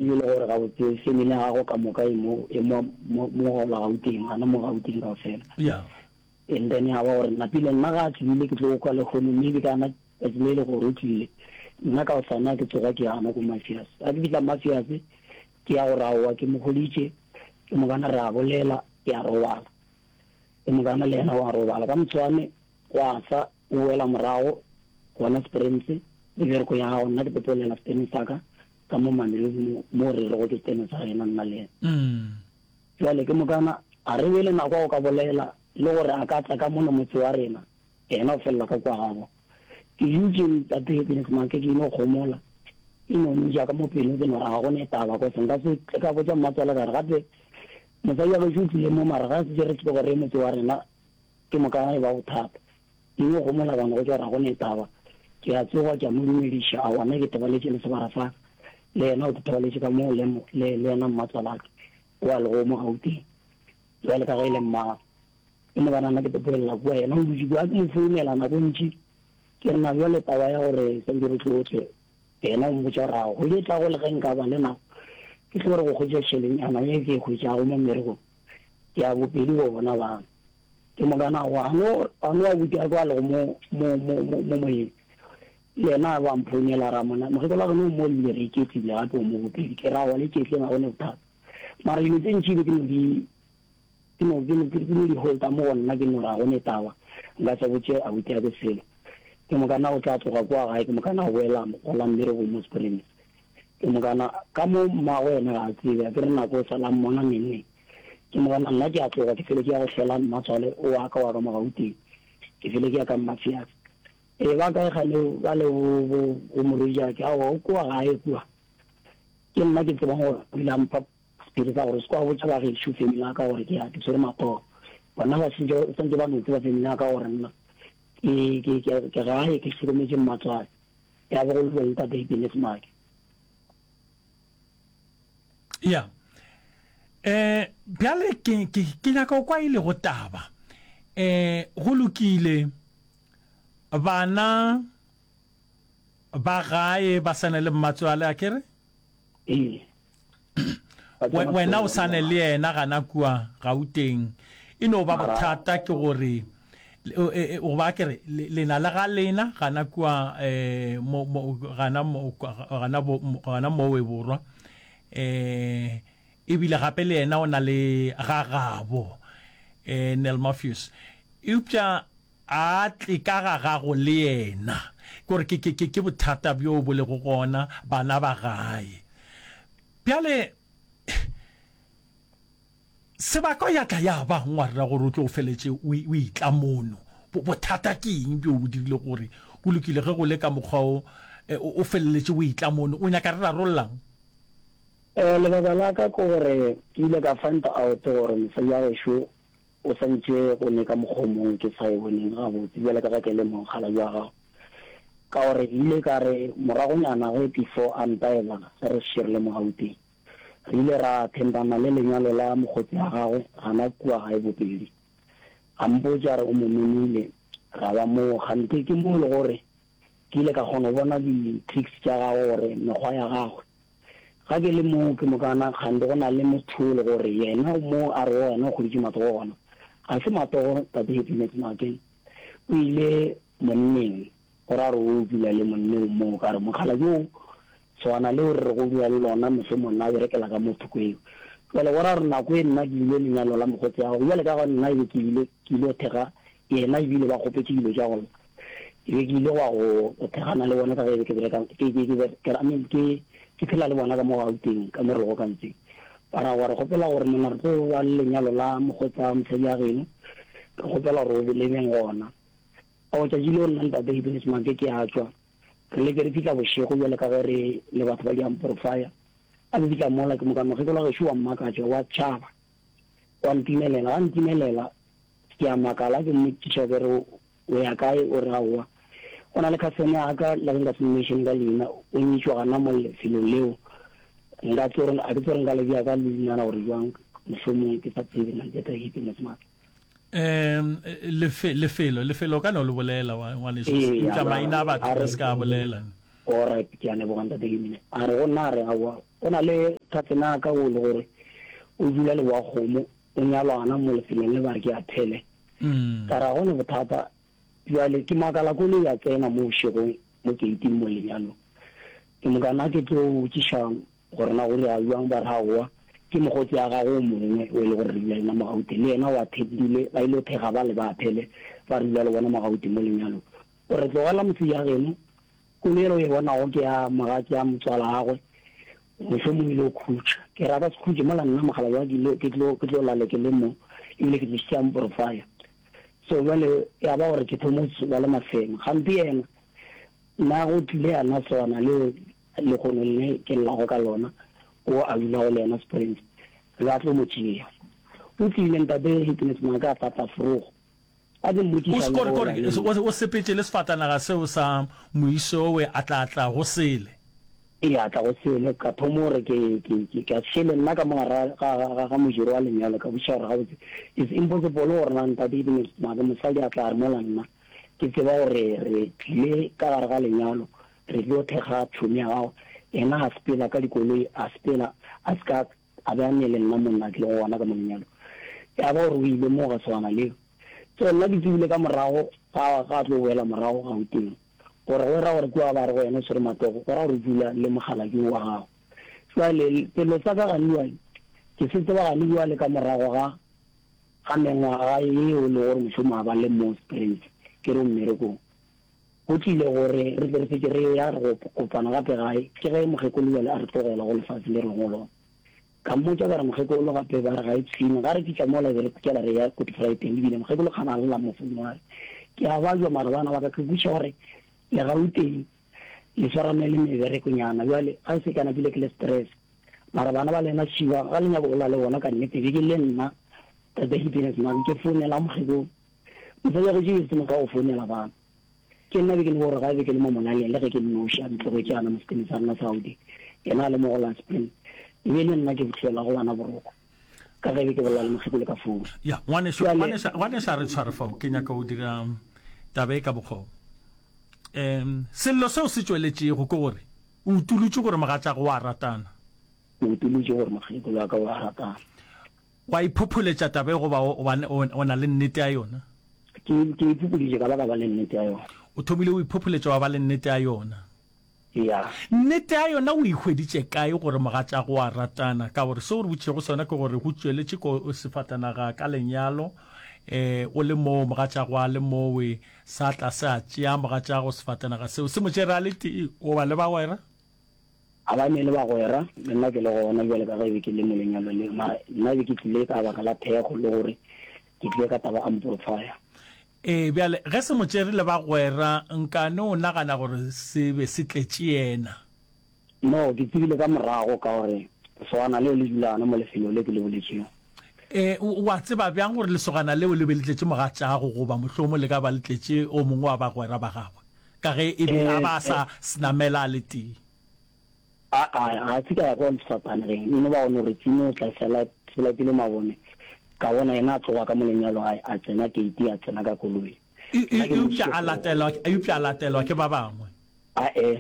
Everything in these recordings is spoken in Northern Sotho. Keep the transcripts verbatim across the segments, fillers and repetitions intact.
E le gore gabotse family ya gago ka moka e mo e mo mo mo gola Gauteng, gana mo Gauteng kaofela. Yeah. And then ya ba gore napile nna ga a tsebile ke tlo kwa lehono maybe ka na tsatsi le le gore o tlile nna ka osana ke tsoga ke ya gana ko Mafias. Ga ke fihla Mafias ke ya gore aowa ke mo hweditše ke mokana re a bolela ke a robala. Ke mokana le yena wa robala. Ka moswane gwa sa o boela morago gona Springs le bereko ya gago nna ke pepolela Springs sa ka ka mo Mamelodi mo mo re rego ke setene sa rena nna le yena. Jwale ke mokana a re be le nako ya go ka bolela le gore a ka tla ka mono motse wa rena, yena o felela ka kwa gabo. Ke dutše Ntate Happiness Maake ke ino homola, ke no nja ka mo pelong ke no re ga go ne taba cause nka se tle ka botša mmatswale ka re gape mosadi wa gešo o tlile mo mara ga se re tloge re ye motse wa rena ke moka e ba bothata. Ke no homola ka no go tšwa gore ga go ne taba. Ke a tsoga ke a mo dumediša, aowa nna ke tebaletše le sebara sa ka, le yena o tebaletše ka moo le, le, le yena mmatswalake o a lego mo Gauteng, bjale ka ge e le mmagwe. Ke mo gana nna ke tepolelela kua, yena o dutše kua, ke mo founela nako e ntši, ke re na bjale taba ya gore santše re tlotle, yena o mpotša gore aowa, kgwedi e tlago le ge nka ba le nako, ke tlo re go hwetša tšhelenyana ye ke e hwetšago mo mmerekong, ke ya bopedi go bona bana. Ke mokana a no, a no abuti a kwa lego mo, mo, mo, mo, mo moyeng. Le yena a ba mphounela a ra mona, mokgekolo wa geno o mo ebile re iketlile gape o mo bopedi. Ke ra aowa le iketleng ga go ne bothata. Mara dilo tše ntši be ke no di, ke no, ke no, ke no di holta mo go nna ke no re ga go ne taba, nka se botše abuti a ke selo. Ke mokana o tla tloga kua gae ke mokana a boela go la mmerekong mo Springs. Ke mokana ka mo mmagwe yena ga a tsebe, a ke re nako o sala a mmona neng neng. Ke mokana nna ke a tloga ke fele ke ya go hlola mmatswale wa ka wa ka mo Gauteng. Ke fele ke ya ka Mmafiase. Ee, ba kae kgane ba le bo, bo, bo morwediake? Aowa, o kua gae kua. Ke nna ke tsebang gore o ile a mpha sephiri sa gore o se ke wa botša ba gešo family ya ka gore ke ya ke tshwere matsogo. Bona ba santše, santše ba no tseba family ya ka gore nna ke, ke, ke, ke gae ke hlokometše mmatswale. Ya ba go le bjalo Ntate Happiness Maake. Ya. Eh, bjale ke, ke, ke nyaka go kwa e lego taba. Eh, go lokile, bana ba gae ba sane le mmatswale, a ke re? Ee. Wena o sane le yena gana kua Gauteng. E no ba bothata ke gore, goba ke re, le na le ga lena gana kua, eh, mo, mo, gana mo, gana bo, gana mowe borwa. Eh, ebile gape le yena o na le ga gabo, eh, Neil Matthews. Eupša a tle ka ga gago le yena. Ke gore ke, ke, ke, ke bothata bjo bo lego gona, bana ba gae. Bjale, sebaka ya tla ya ba ngwarra gore o tlo o feletše o, o etla mono. Bo, bothata ke eng bjo bo dirile gore go lokile ge go le ka mokgwa o, o, o feleletše o etla mono? O nyaka re rarollang? Eh, lebaka la ka ke gore ke ile ka find out gore mosadi wa gešo o santše go ne ka mokgwa o mongwe ke sa e boneng gabotse bjale ka ge ke le mokgalabje wa gagwe. Ka gore ke ile ka re moragonyana ge before a ntaela ge re šetše re le mo Gauteng, re ile ra attendana le lenyalo la mokgotsi wa gagwe gana kua gae Bopedi. A mpotša a re o mo memile, ra ba moo. Kganthe ke mo e le gore ke ile ka kgona go bona di-tricks tša gagwe gore mekgwa ya gagwe. Ga ke le moo ke mokana kgante go na le motho o le gore yena o mo a rego yena o kgweditše matsogo gona. Ga se matsogo Tate Happiness Maake. O ile monneng gore a re o dula le monneng moo ka re mokgalabje o swana le o re rego o dula le lona mohlomong nna a berekela ka mo thoko eo. Jwale go ra gore nako e nna ke ile lenyalo la mokgotsi wa gagwe bjale ka ga nna e be ke ile ke ile go thekga yena ebile ba kgopetše dilo tša go lla. Ke be ke ile gwa go go thekgana le bona ka ge be ke bereka ke ke ke ke I mean ke ke phela le bona ka mo Gauteng ka mo re lego ka ntseng. Ba ra gwa re kgopela gore monna re tlo ba le lenyalo la mokgotsa mosadi wa geno, re kgopela gore o be le beng gona. Ao tšatši leo nna ntate Happiness Maake ke a tšwa, re leke re fihla bošego bjale ka ge re le batho ba diamporofaya. A ke fihla mola ke moka mokgekolo wa gešo wa mmakatša wa tšhaba wa ntimelela, ga ntimelela ke a makala ke mmotšiša ke re O ya kae? O re, Aowa. Go na le khasene ya ka, le ge nka se mmenšene ka leina, o nyetšwe gana mo lefelong leo. Nka tlo re, a ke tlo re nka le bea ka leina la gore bjang, mohlomong ke sa tsebe nna ke Happiness Maake. Um, lefe, lefelo, lefelo o ka no le bolela, wa, ngwaneso, Ee, eupša a maina a a batho re, re se ka a bolela. Alright, ke a leboga Ntate Happiness. A re go nna, a re, Aowa, Go na le cousin ya ka o le gore o dula Leboakgomo, o nyalwa gona mo lefelong le ba re ke Athele. Ka re ga go na bothata. Bjale ke makala koloi ya tsena mo bošegong mo keiting mo lenyalong. Ke moka nna ke tlo botšiša gore na go dira bjang, ba re aowa ke mokgotsi ya gagwe o mongwe o e le gore re dula le yena mo Gauteng, le yena o attendile, ba ile thekga bale ba Athele ba re dula le bona mo Gauteng mo lenyalong. O re tlogela motse ya geno, koloi yela o e bonago ke ya mogatša ya motswalagwe, mohlomong o ile go khutša. Ke re a ka se khutše mola nna mogala wa ke tlo ke tlo lale ke le mo, ebile ke tlišitše amplifier. So bjale ya ba gore ke thoma go ba le mafema. Gampe yena nna go tlile yana swana leo lehono le ke llago ka lona, o a dulago le yena Springs, re a tlo mo tšea. O tlile ntate Happiness Maaka a tla tla forogo. A ke O mmotšiša se le kore go kore la le o o sepetše le sefatanaga seo sa moisowe a tla tla go sele. Ee, a tla go sele. Ka thoma gore ke ke ke ka šele nna ka mo gara ga ga ga ga mojero wa lenyalo ka botšiša gore gabotse it's impossible gore na ntate Happiness Maaka mosadi a tla re mola nna ke tseba gore re tlile ka gare ga lenyalo re tlo thekga tšhomi ya gago. Yena a sepela ka dikoloi a sepela a se ka a be a ne le nna monna ke lego gona ka mo lenyalong. Ya ba gore o ile moo ga swana leo. So nna ke tsebile ka morago ga ga a tlo boela morago Gauteng gore go ra gore kua ba re go yena o swere matsogo go ra gore o dula le mokgalabje wa gago. Jwale selo sa ka gane bjale ke se tseba gane bjale ka morago ga ga mengwaga yeo e le gore mošomo a ba le mo Springs ke re o mmerekong. Go tlile gore re tle re fetše re ya re go kopana gape gae ke ge mokgekolo bjale a re tlogela go lefase le re go lona. Ka mmotša ka re mokgekolo gape ba re ga e tshwene. Ga re fihla mola be re kela re ya Kotifraeteng ebile mokgekolo kgana a lla mo founong a re ke a bajwa mara bana ba ka ke kwešiša gore le Gauteng le swarane le meberekonyana bjale ga e se ka napile ke le stress mara bana ba lena šiba ga le nyako gola le bona ka nnete be ke le nna tate Happiness Mabe ke founela mokgekolo mosadi wa gešo ke se motho wa go founela bana Ke nna be ke le gore ga be ke le mo molaleng le ge ke nnoši a ntlogetše ana mo sekemeng sa rena sa Gauteng, yena a le mo go la Spring, e be e le nna ke bohlwelago bana boroko ka ge be ke bolela le mokgekolo ka founu. Ya, ngwanešu, Bjale. ngwanešu, ngwanešu a re tshware fao, ke nyaka go dira taba e ka bokgoba. Um, sello seo se tšweletšego ke gore o utolotše gore mogatšago o a ratana. Ke utolotše gore mokgekolo wa ka o a ratana. Wa iphopholetša taba e goba o, o, o na le nnete ya yona? Ke, ke iphophoditše ka ba ka ba le nnete ya yona. O thomile o iphopholetša wa ba le nnete ya yona. Ya. Nnete ya yona o e hweditše kae gore mogatšago o a ratana? Ka gore seo o re botšego sona ke gore go tšweletše ko sefatanaga ka lenyalo, eh, o le moo mogatšago a le mowe, sa tla se a tšea mogatšago sefatanaga seo, se mo tšere a le tee goba le bagwera? A ba ne le bagwera, le nna ke le gona bjale ka ge e be ke le mo lenyalong leo, mara nna e be ke tlile ka baka la thekgo le gore ke tlile ka taba amplifier. Ee, bjale ge se mo tšere le bagwera, nkane o nagana gore se be se tletše yena? No, ke tsebile ka morago ka gore lesogana leo le dula gona mo lefelong le ke le boletšego. Ee, o, o a tseba bjang gore lesogana leo le be le tletše mogatšago goba mohlomong le ka ba le tletše o mongwe wa bagwera ba gagwe, ka ge e be a ba a sa se namela a le tee? Aa, ga se ka ya kwa sefapanegeng, e no ba go no re tsimo o tla sela, se latile mabone. Ka bona yena a tloga ka mo lenyalo a, a tsena keiti, a tsena ka koloi. E, e, Nna ke eupša mmoditše a gore. latelwa, eupša a latelwa ke ba bangwe. Ae.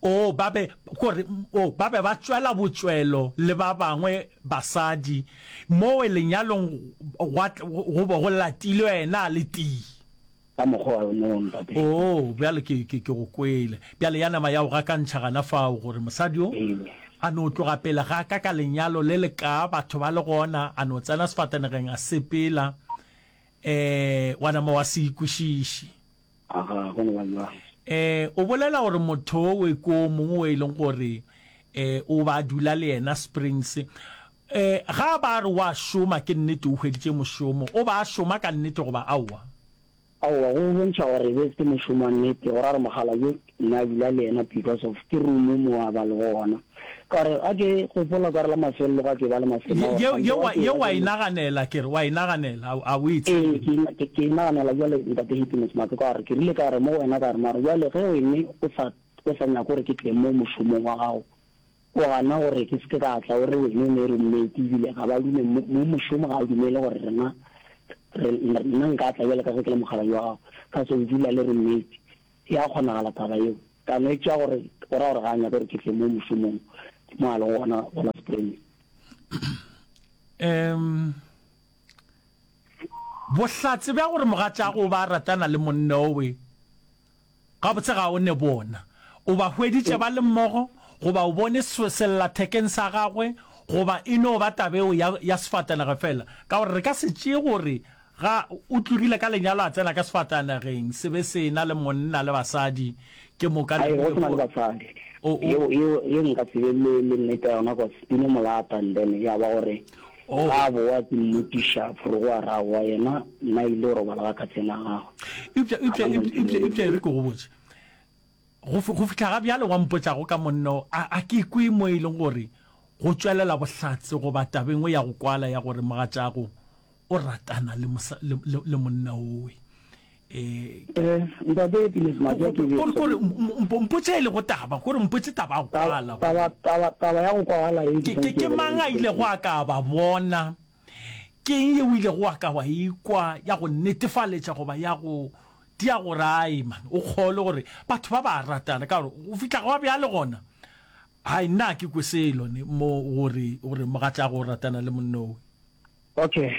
Oo, ba be, gore, oo, ba be ba tšwela botšwelo le ba bangwe basadi, mowe lenyalong gwa, go be go latilwe yena a le tee. Ka mokgwa wa no, ntate. Oo, bjale ke, ke, ke go kwele. Bjale ya nama ya go gakantšha gana fao, gore mosadi yo a no tloga pele ga ka ka lenyalo le le kaa, batho ba le gona, a no tsena sefatanegeng a sepela, eh, wa nama wa se ikwešiše. Aga, go no ba bjalo. Eh, o bolela gore motho owe ke o mongwe o e leng gore, eh, o ba dula le yena Springs. Eh, ga ba re wa šoma, ke nnete o hweditše mošomo. O ba a šoma ka nnete goba aowa? Aowa, go bontšha gore e be se mošomo wa nnete, go ra gore mokgalabje nna a dula le yena because of ke room mo a ba lego gona. Ka gore ga ke gopola ka re la mafelelo ga ke ba le mafelelo a gore Ye, gantši ye, ga wa, ke ye ba wa le. e naganela, ke re, wa e naganela, a, a o e Ee, tsebe. ke, ke, ke e naganela bjale Ntate Happiness Maake ka gore ke rile ka re mo go wena ka re mara bjale ge wene o sa, o sa nyake gore ke tle mo mošomong wa gago, O gana gore ke se ke ka tla, o re wene o ne roommate ebile ga ba dume, mo, mo mošomo ga a dumele gore rena re, nna nka tla bjalo ka ge ke le mokgalabje wa gago, ka so o dula le roommate. E a kgonagala taba yeo? Ka no e tšea gore go ra gore ga a nyake gore ke tle mo mošomong, Ke mo a lego gona gola Springs. Um bohlatse bja gore mogatšago o ba ratana le monna owe gabotse ga o ne bona. O ba hweditše ba le mmogo goba o bone sellathekeng sa gagwe goba e no ba taba eo ya, ya sefatanaga fela? Ka gore re ka se tšee gore ga o tlogile ka lenyalo a tsena ka sefatanageng se be se ena le monna le basadi ke moka le Ai, go se na le basadi. O, o. Yeo, yeo, yeo nka se be le, le nnete ya yona cause ke no mo lata and then ya ba gore Oh. ga a boa ke mmotšiša forogo a re aowa yena nna ile go robala ga khatsene ya gagwe. Eupša, eupša, Ga ba mo eupša, eupša, eupša e re ke go botše. Go, go fihla ga bjale wa mpotšago ka monna o, a, a ke kwe mo e leng gore go tšwelela bohlatse goba taba e nngwe ya go kwala ya gore mogatšago o ratana le, mosa, le, le, le monna owe. Eh, Eh, ntate Pilis Maja ke kore, kore, mpotše e lego taba, kore mpotše taba ya go kwala. Taba, taba, taba ya go kwala e Ke, ke, ke mang a ilego a ka ba bona? Ke eng yeo o ilego wa ka wa ikwa ya go netefaletša goba ya go tia gore ai man, o kgolwe gore batho ba ba ratana? Ka gore go fihla gwa bjale gona, hai nna a ke kwe selo ne mo gore, gore mogatšago o ratana le monna owe. Okay,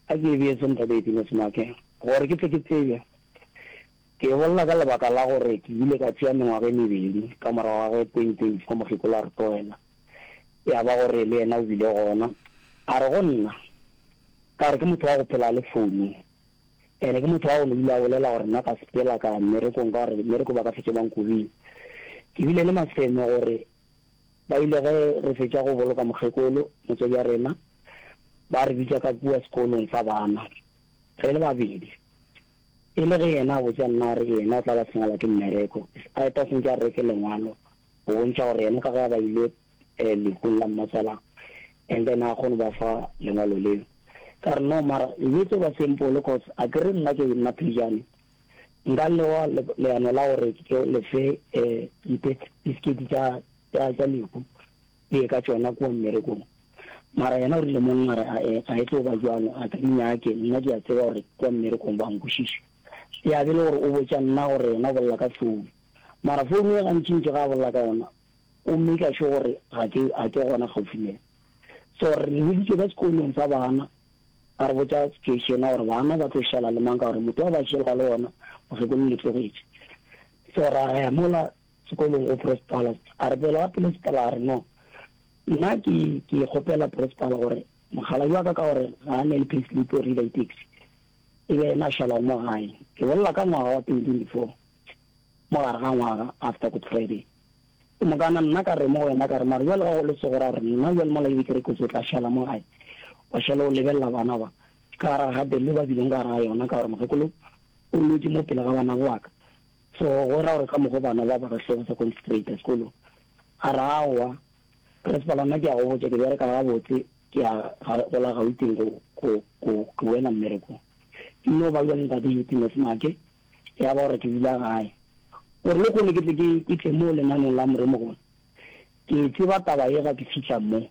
a ke e beye se ntate Pilis Make, gore ke tle ke tsebe. Ke e bolela ka lebaka la gore ke ile ka tšea mengwaga e mebedi ka morago ga ge twenty twenty-four mokgekolo a re tlogela. Ya ba gore le yena o bile gona. A re go nna, ka re ke motho wa go phela a le founung. Ene ke motho wa go no dula a bolela gore nna ka sepela ka ya mmerekong ka gore mmereko ba ka fetše ba nkobile. Ke bile le maseme gore ba ile ge re fetša go boloka mokgekolo, motswadi wa rena, ba re bitša ka kua sekolong sa bana re le babedi. E le ge yena a botša nna a re yena o tla ba senyelwa ke mmereko, a eta sentše a reke lengwalo go bontšha gore yena ka ge a ba ile lehung la mmatswalagwe and then a kgone ba fa lengwalo leo. Ka re no mara e be tlo ba simple cause a ke re nna ke nna Phejane nka lewa leano la gore ke le fe dipisiketi tša tša tša lehu le ye ka tšona kua mmerekong. Mara yena o rile monna a re ae ga e tlo ba bjalo a ke di nyake nna ke a tseba gore kua mmerekong ba nkwešiša. Ya be le gore o botša nna gore yena o bolela ka phone mara phone e gantšintši ga a bolela ka yona o maker sure gore ga ke ga ke gona kgaufsi le yena. So re biditše ka sekolong sa bana ba re botša situation ya gore bana ba tlo šala le mang ka gore motho wa ba šela le ona mokgekolo le tlogetše. So ra ya mola sekolong go principal a re pele ga principal a re no nna ke ke kgopela principal gore mokgalabje wa ka ka gore ga a ne le payslip o reila di-taxi e be yena a šalago mo gae. Ke bolela ka ngwaga wa twenty twenty-four mo gare ga ngwaga after Good Friday. Ke mokana nna ka re mo go yena ka re mara bjale ga go le so go ra gore nna bjale mola ebe ke re kotsi o tla šala mo gae wa šala o lebelela bana ba ka gare ga gatelelo ba bileng ka gare ga yona ka gore mokgekolo o lwetše mo pele ga bana ba ka. So go ra gore ka mokgo bana ba ba ka hlogo sa concentrate sekolong. A re aowa principal nna ke a go botša ke bereka gabotse ke ya go la Gauteng go go go ke boela mmerekong. Ke no ba bjale ntate Eutines Make ya ba gore ke dula gae. Gore le kgone ke tle ke ke tle mo lenaneng la moremogolo. Ke tseba taba ye ga ke fihla mo.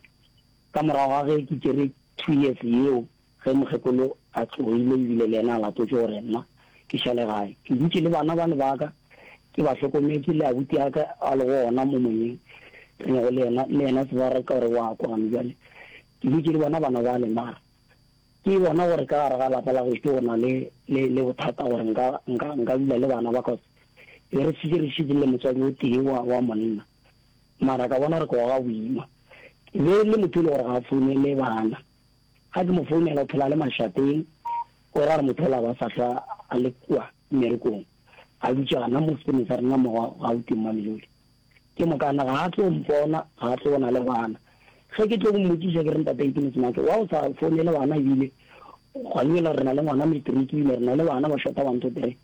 Ka morago ga ge ke tšere two years yeo ge mokgekolo a tlogile ebile le yena a latotše gore nna ke šale gae. Ke dutše le bana bane ba ka ke ba hlokometše le abuti ya ka a le gona mo moyeng re nyako le yena le yena se ba re ka gore wa kwana bjale. Ke dutše le bona bana bale mara ke bona gore ka gare ga lapa la gešo go na le le le bothata gore nka nka nka dula le bana ba cause be re šetše re šetše le motswadi o tee wa wa monna. Mara ka bona gore ke goga boima. Ke be le motho e le gore ga a founele bana. Ga ke mo founela o phela a le mašateng, o ra gore motho ola ba sa hlwa a le kua mmerekong. A dutše gana mo sekolong sa rena mo Gauteng Mamelodi. Ke mokana ga a tlo mpona, ga a tlo bona le bana. Ge ke tlo mmotšiša ke re ntate Eutines Make, wa o sa founele bana ebile gwa ebile re na le ngwana matric ebile re na le bana ba shota one two three.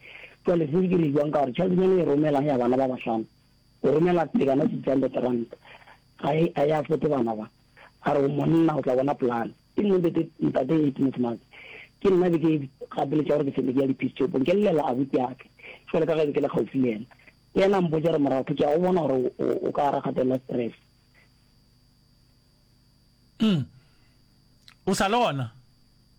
Jwale se ke re jwang ka gore tšheletenyana e romelang ya bana ba bahlano o romela tekano six hundred rand ga e a e afford bana ba. A re o monna o tla bona plan. Ke nna ntate ntate Eutines Make. Ke nna be ke gapeletša gore ke fele ke ya di-peace shopong ke llela abuti ya ka. Jwale ka ge be ke le kgauswi le yena. Yena a mpotša re moratho ke a go bona gore o ka gara kgatelelo ya stress. Mm. O sa le gona?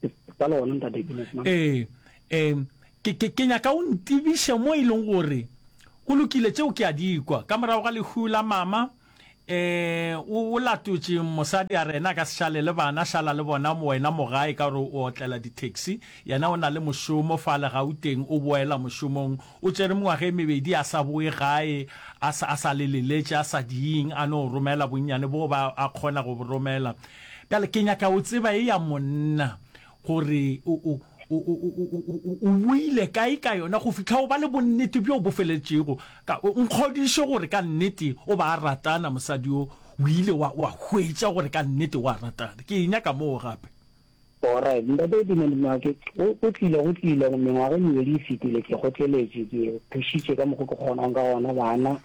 Ke sa le gona ntate Eutines Make. Ee, ee, ke, ke, ke nyaka o ntebiše mo e leng gore go lokile tšeo ke a di kwa. Ka morago ga lehu la mama, Eh, o, o latotše mosadi a re yena a ka se šale le bana, šala le bona wena mo gae ka gore o otlela di-taxi. Yena o na le mošomo fale Gauteng, o boela mošomong. O tšere mengwaga e mebedi a sa boe gae, a sa, a sa le leletše, a sa diing, a no romela bonnyane boo ba a kgona go bo romela. Bjale ke nyaka o tseba e ya monna gore o, o, o, o, o, o, o boile kae ka yona go fihla o ba le bonnete bjo bo feletšego. Ka, nkgodiše gore ka nnete o ba a ratana mosadi yo, o ile wa, wa hwetša gore ka nnete o a ratana. Ke e nyaka moo gape. Alright, Ntate Edmund Make, go, go tlile, go tlile, mengwaga e mebedi e fetile, ke kgotleletše, ke thušitše ka mokgo ke kgonago ka gona, bana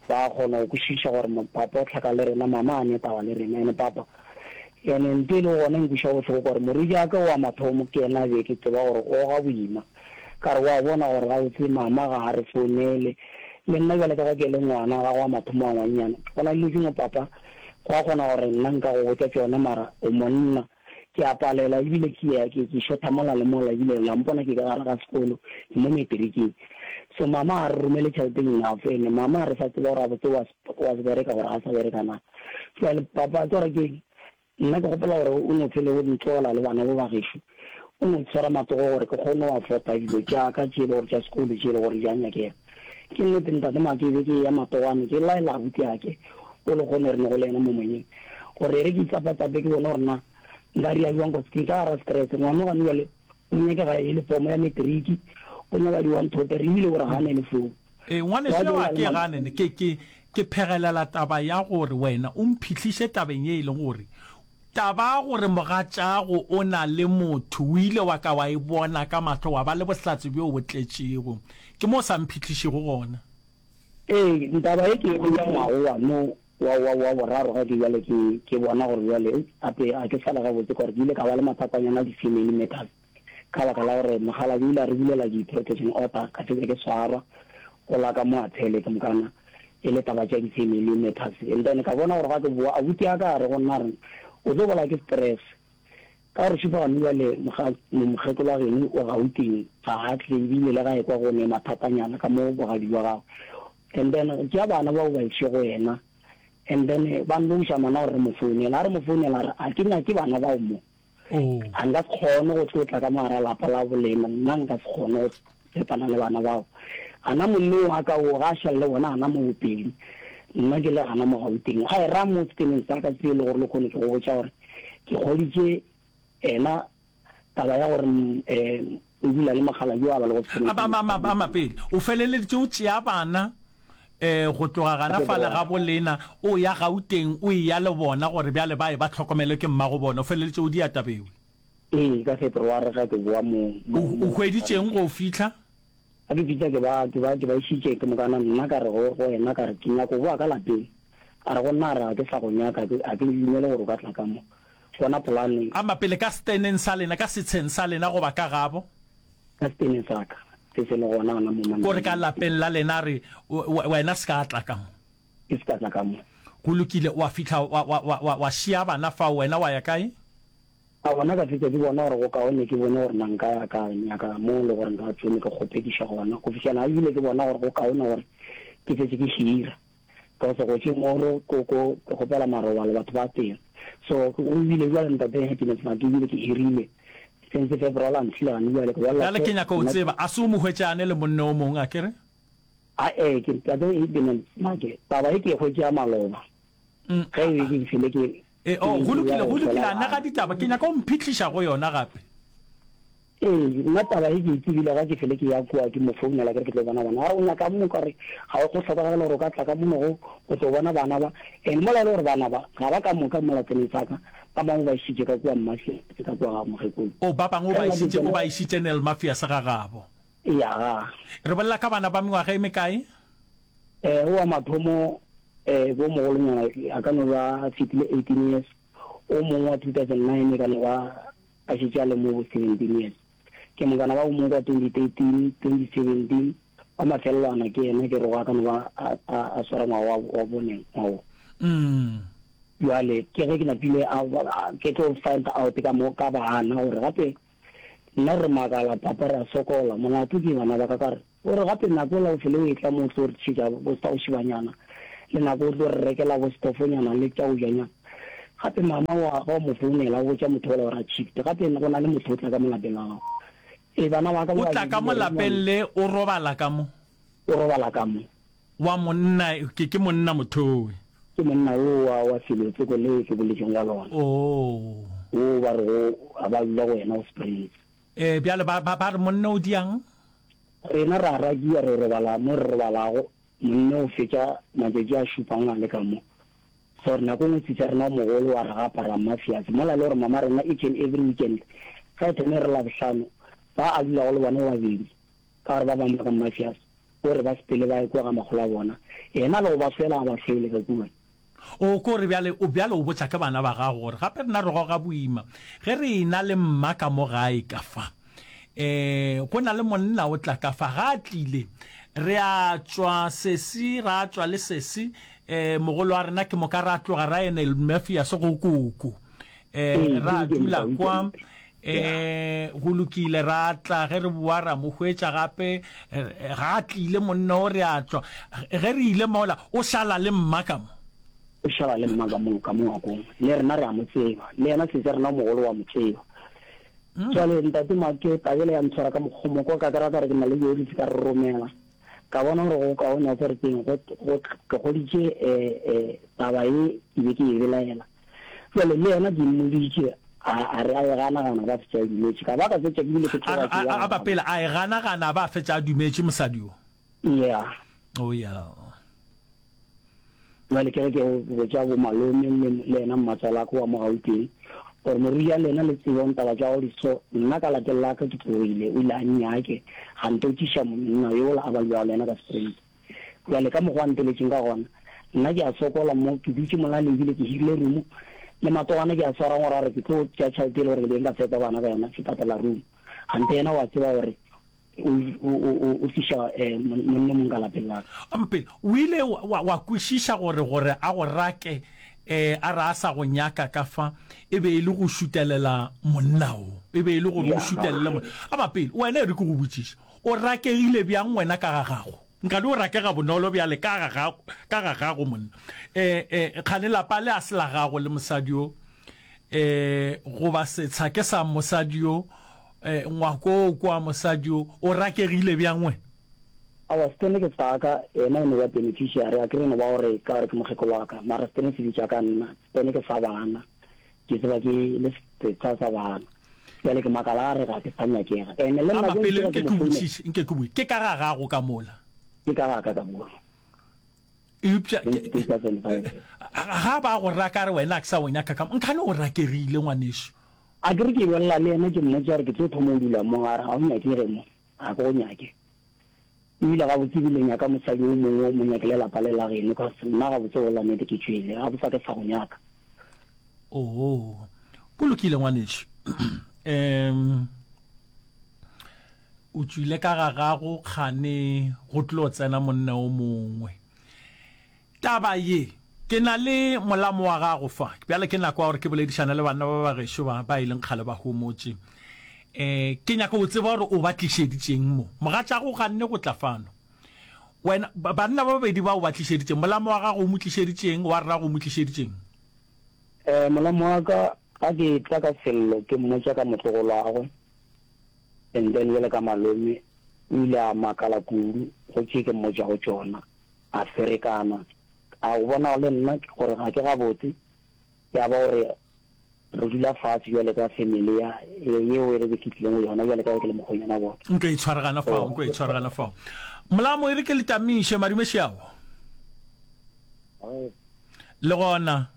ba kgona go kwešiša gore papa o hlaka le rena, mama a ne taba le rena, ene papa ene nto e lego gona e nkweša bohloko gore morwedi wa ka wa mathomo ke yena be ke tseba gore o ga boima, ka re wa bona gore gabotse mama ga a re founele le nna bjale ka ge ke le ngwana gagwe wa mathomo wa ngwannyana, go na le dilo dingwe papa go a kgona gore nna nka go botša tšona mara o monna. Ke a palela ebile ke ya ke ke shotha mola le mola ebile la mpona ke ka gare ga sekolo ke mo matriking. So mama a re romele tšhelete enough ene mama a re sa tseba gore gabotse wa wa se bereka gore ga sa bereka na. Jwale papa ke gore ke nna ke gopola gore o no phele o ntlogela le bana bo ba gešo o no tshwara matsogo gore ke kgone go afford-a dilo tša ka tše e le gore tša sekolo tše e le gore di a nyakega. Ke nnete ntate Make be ke eya matogwane ke laela abuti ake o le kgone re ne go le yena mo moyeng gore e re ke itsapatsape ke bone gore na nka ria bjang cause ke ka gara stress ngwana gane bjale o nyakega e le form ya matric o nyaka di one two three ebile o re gane le phone. Ee ngwaneso yo a ke gane ne ke ke ke phegelela taba ya gore wena o mphihliše tabeng ye e leng gore taba ya gore mogatšago o na le motho o ile wa ka wa e bona ka mahlo wa ba le bohlatse bjo bo tletšego ke mo o sa mphihlišego gona. Ee taba ye ke e hwetša ngwago wa no wa, wa, wa boraro ge ke bjale ke, ke bona gore bjale gape ga ke sa le gabotse ka gore ke ile ka ba le mathatanyana a di-family matters ka baka la gore mokgalabje o ile a re bulela di-protection order ka fetša ke swarwa go la ka mo Athele ke mokana e le taba tša di-family matters and then ka bona gore ga ke bowa abuti a ka a re go nna a re o tlo bolaya ke stress ka gore šupa gane bjale mokgekolo wa geno o Gauteng ga a tle ebile le ga ekwa go ne mathatanyana ka mo bogadi bja gagwe And then tšea bana bao ba iše go yena and then ba nloša mana gore re mo founele. Ha re mo founela a re a ke nyake bana bao mo. A nka se kgone go tlo tla ka mo gara lapa la bolena, nna nka se kgone go fepana le bana bao. Gana monneng wa ka wo ga a šale le bona gana mo Bopedi, nna ke le gana mo Gauteng. A e ra mo seteneng sa ka se e le gore lehono ke go botša gore ke hweditše ena taba ya gore um o dula le mokgalabje yo a ba lego sekolong sa Mosadi. Ama pele, o feleleditše o tšea bana um go tloga gana fale ga bo lena o ya Gauteng o eya le bona gore bjale ba ye ba hlokomelwe ke mmago bona, o feleleditše o dia taba ewe? Ee, ka February ge ke boa mo, mo, O, o mo hweditšeng go fihla? Ga ke fihla ke ba, ke ba, ke ba išitše ke mokana nna ka re go, go yena ka re ke nyaka go boa ka lapeng. A re go nna a re ga ke sa go nyaka, ga ke, ga ke dumele gore o ka tla ka mo. Bona polane. Ama pele ka seteneng sa lena, ka setsheng sa lena goba ka gabo. Ka seteneng sa ka, se se le gona gona mo Ko re ka Manameng. lapeng la lena, a re, Wena se ka tla ka mo. Ke se ka tla ka mo. Go lokile, wa fihla wa, wa, wa, wa, wa šia bana fao, wena wa ya kae? Ka gona ka fetša ke bona gore go kaone ke bone gore na nka ya ka nyaka mo le gore nka tšome ke kgopediša gona go fihlela ebile ke bona gore go kaone gore ke fetše ke hira. Cause go tše moro ko ko ke kgopela marobalo batho ba teng so go bile bjale ntate Happiness Maki ebile ke hirile since February until gane bjale ke bolela Bjale ke nyaka o tseba a se o mo hwetšane le monna o mongwe akere? Ae ke ntate Happiness Maki taba e ke e hwetše ya maloba ge e be ke fele ke E, oh, go lokile, go lokile, anega ditaba. Ke nyaka o mphihliša go yona gape. Ee, nna taba ye ke e tsebile ga ke fele ke ya kua ke mo founela ke re ke tlo bona bana. A re o nyaka mo? Ka re ga go hlokagale gore o ka tla ka mono go go tlo bona bana ba. And mola e le gore bana ba ga ba ka moka mola tseneng sa ka, ba bangwe ba išitše ka kua Mmafiase ka kua ga mokgekolo. Oh, ba bangwe o Ge ba nna ke išitše, o tsena. ba išitše Nellmafiase ga gabo. Eya, ga. Re bolela ka bana ba mengwaga e mekae? Eh, o wa mathomo eh, bo mogolonyana a ka no ba a fetile eighteen years, o mongwe wa two thousand nine e ka no ba a šetše a le mo bo seventeen years. Ke mokana ba o mongwe kwa twenty thirteen, twenty seventeen, wa mafelelwana ke yena ke rego a ka no ba a, a, a swara ngwaga wa, wa bone ngwaga wo. Mm. Bjale ke ge ke napile a, a, ke tlo find out ka mo, ka bana gore gape nna re makala papa re a sokola, molato ke bana ba ka ka re O re gape nako yela o fele o etla mo o tlo re tšhetša bo sa go šibanyana, le nako o tlo re rekela bo stofonyana le tša go janyana. Gape mama wa ga o mo founela o botša motho ola gore a shift. Gape go na le motho o tla ka mo lapeng la gago. Ee, bana ba ka O ba tla ka mo babedi lapeng le o robala ka mo. O robala ka mo. Wa monna, ke, ke monna mothowe. Ke monna wo wa, wa felotsoko le ke boletšeng ka lona. Oo. Wo ba rego a ba dula go yena go Springs. Ee, bjale ba, ba, ba re monna o diang? Rena ra rakiwa re robala mo re robalago, monna o fetša matšatši a šupang a le ka mo. Gore nako e nngwe sisa rena o mogolo wa re gapa ra mmafiase mola e le gore mama rena each and every weekend ge e thome e re Labohlano ba a dulago le bona ba babedi ka gore ba bangwe ba ka mmafiase o re ba sepele ba ye kua ga makgolo a bona yena le go ba hlwela a ba hlwele ka kua. O ko re bjale o bjale o botša ke bana ba gago gore gape rena re goga boima ge re ena le mma ka mo gae ka fa. E, go na le monna o tla ka fa ga a tlile re a tšwa sesi ra tšwa le sesi e, mogolo wa rena ke moka ra tloga ra ene Mafias go koko e, Ee, ra ke dula weekend kwa weekend yeah. e, go lokile ra tla ge re boa ra mo hwetša gape ga a tlile monna o re a tšwa ge re ile mola o šala le mma ka mo. O šala le mma ka mo ka mo ngwakong le rena re a mo tseba le yena sesi rena o mogolo wa mo tseba. Jwale ntate Make taba yela ya ntshwara ka mokgomo kwa ka kry-a ka re ke na le diofisi ka re romela ka bona gore go kaone wa tsere keng go go ke goditše eh eh taba ye ke be ke e belaela. Jwale le yena ke mmoditše a a re a e gana gana ba fetša a dumetše ka ba ka fetša ke bile ke A tloga re ke a ya a a ba gabo. pele a e gana gana ba fetša a dumetše mosadi yo. Yeah. Oh yeah. Jwale ke ge ke botša bo malome le le yena mmatswalaka wa mo Gauteng gore morui ya lena le tsebong taba tša go di so nna ka lapeng la ka ke tlogile o ile a nnyake ga ntotšiša monna yola a ba dulago le yena ka Springs. Jwale ka mokgwa a nteletšeng ka gona nna ke a sokola mo ke dutše mola le ebile ke hirile room le matogana ke a swara gore a re ke tlo tšea tšhelete e le gore ke be nka fepa bana ka yona ke patela room gante yena wa tseba gore o o o o tliša eh, monna mong ka lapeng la ka. Mpele, o ile wa, wa, wa kwešiša gore gore a go rake eh, a re a sa go nyaka ka fa e be e le go šutelela monna o e be e le gore o Ya, šutelele monna a ba pele wena e re ke go botšiše o rakegile bjang wena ka ga gago nkane o rakega bonolo bjale ka ga gago ka ga gago monna eh, eh, kgane lapa le a se la gago le mosadi o eh, goba setsha ke sa mosadi yo eh, ngwako o kwa mosadi yo o rakegile bjang wena? Aowa, Stene ke sa ka, yena e no ba beneficiary, a ke re no ba gore ka gore ke mokgekolo wa ka, mara Stene se bitša ka nna, Stene ke sa bana, ke tseba ke le setsa sa bana, bjale ke makala a re ga ke sa nyakega, ene le Ama nako e pele ntši nke ga ke ke mo founela. botšiše, nke ke botšiše, ke ka ga gago ka mola? Ke ka ga ka ka mola. Eupša ke, Since two thousand five. ga ba go raka re wena a ke sa o nyaka ka mo, nkhane o rakegile ngwanešu. A ke re ke bolela le yena ke mmotša gore ke tlo thoma go dula mo, a re ga o nyakege mo, ga ke go nyake. Ebile gabotse ebile nyaka mosadi o mongwe o mo nyakele lapa le la geno, cause nna gabotse go bolela nnete ke tšwele, gabotse ga ke sa go nyaka. Oo, go lokile ngwanešu. Um, o tšwile ka ga gago kgane go tlo tsena monna o mongwe. Taba ye, ke na le molamo wa gago fa. Bjale ke nako ya gore ke boledišane le banna ba ba gešo ba ba e leng kgale ba homotše. Eh, ke nyaka go tseba gore o ba tlišeditšeng mo. Mogatšago o ganne go tla fano. Wena, banna ba babedi ba o ba tlišeditšeng, molamo wa gago o mo tlišeditšeng, wa rrago o mo tlišeditšeng? Eh, molamo wa ka, ga ke tla ka sello ke mmotša ka motlogolwagwe, and then bjale ka malome, o ile a makala kudu go tše ke mmotšago tšona, a ferekana, a go bona le nna gore ga ke gabotse, ya ba gore re dula fatshe bjale ka family ya yeo e re ke tlileng go yona bjale ka ge ke le mokgonyana bona. Nko e tshwaragana fao, nko e tshwaragana fao. Molamo e re ke le tamiše madume šiago. Le gona.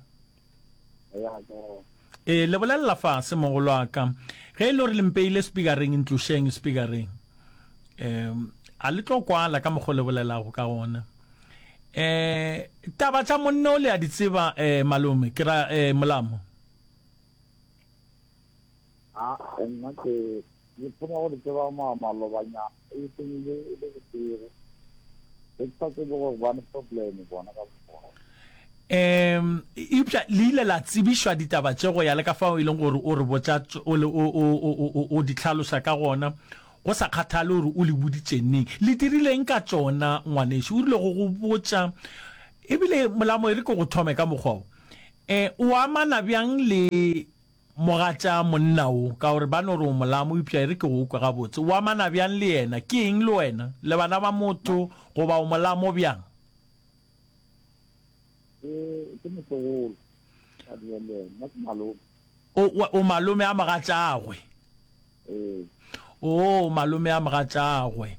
E le bolelela fase mogolo wa ka. Ge e le gore le mpeile speakereng ntlošeng speakereng. Um a le tlo kwala ka mokgwa le bolelago ka gona. Eh taba tša monna o le a di tseba eh malome ke ra eh molamo. A nna ke ke thoma go di tseba ma malobanyana e seng le le bošego. Ke sa tsebe gore bane problem bona ka bona. Um eupša le ile la tsebišwa ditaba tše go ya le ka fao e leng gore o re botša o o o o di hlaloša ka gona go sa kgathale gore o le boditše neng. Le dirileng ka tšona ngwanešu? O rile go go botša Ebile molamo e re ke go thome ka mokgwa wo. Eh, o amana bjang le mogatša monna wo? Ka gore ba no re o molamo, eupša e re ke go kwe gabotse. O amana bjang le yena? Ke eng le wena? Le bana ba motho goba o molamo bjang? Ke, ke motlogolo. Ka dula le yena. Nna ke malome. O, o malome a mogatšagwe? Ee. Oo, malome a mogatšagwe.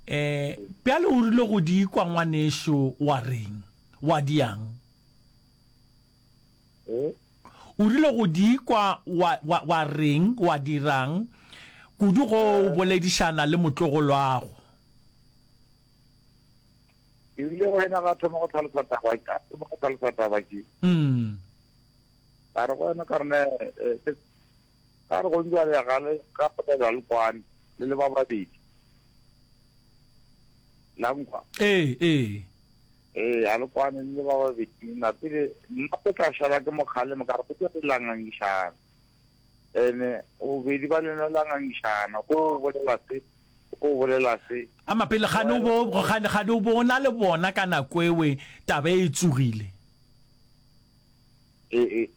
Eh, bjale o rile go di kwa ngwanešo wa reng? Wa diang? Eh? O rile go di kwa wa, wa, wa reng, wa dirang, kudu go o boledišana le motlogolwago? Ke rile go yena ga thoma go tlhalosa taba, a thoma go tlhalosa taba ke. Mm. Ka re go yena ka re ne, eh, ka re go njwale ga le ga ga le kwane le le ba babedi. La nkwa. Ee, ee. Ee, a le kwane le le ba babedi. Nna pele nna ke tla šala ke mo kgalema ka re go tšwa la ngangišana. Ene bobedi ba lena la ngangišana, o bolela se, o bolela se. Ama pele gane o bo gane gane o bo o na le bona ka nako ewe taba e tsogile. Ee, ee.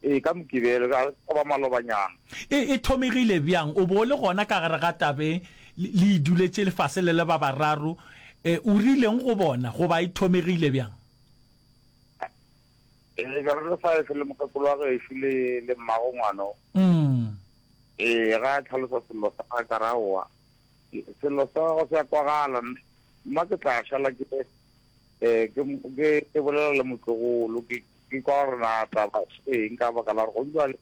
Ee, ka Mokibelo, ka go ba malobanyana. E, e thomegile bjang? O be o le gona ka gare ga tabe, le, le e duletše lefase le le ba bararo. E, o rileng go bona, goba e thomegile bjang? Ee, be re le five le mokgekolo wa gešo le, le mmago ngwano. Mm. Ee, ga a tlhalosa sello sa gagwe, ka re, Aowa, sello sa gago se a kwagala, nna ke tla šala ke, eh, ke, ke, ke bolela le motlogolo, ke, Ke kwa gore na taba ke eng ka baka la gore go bjale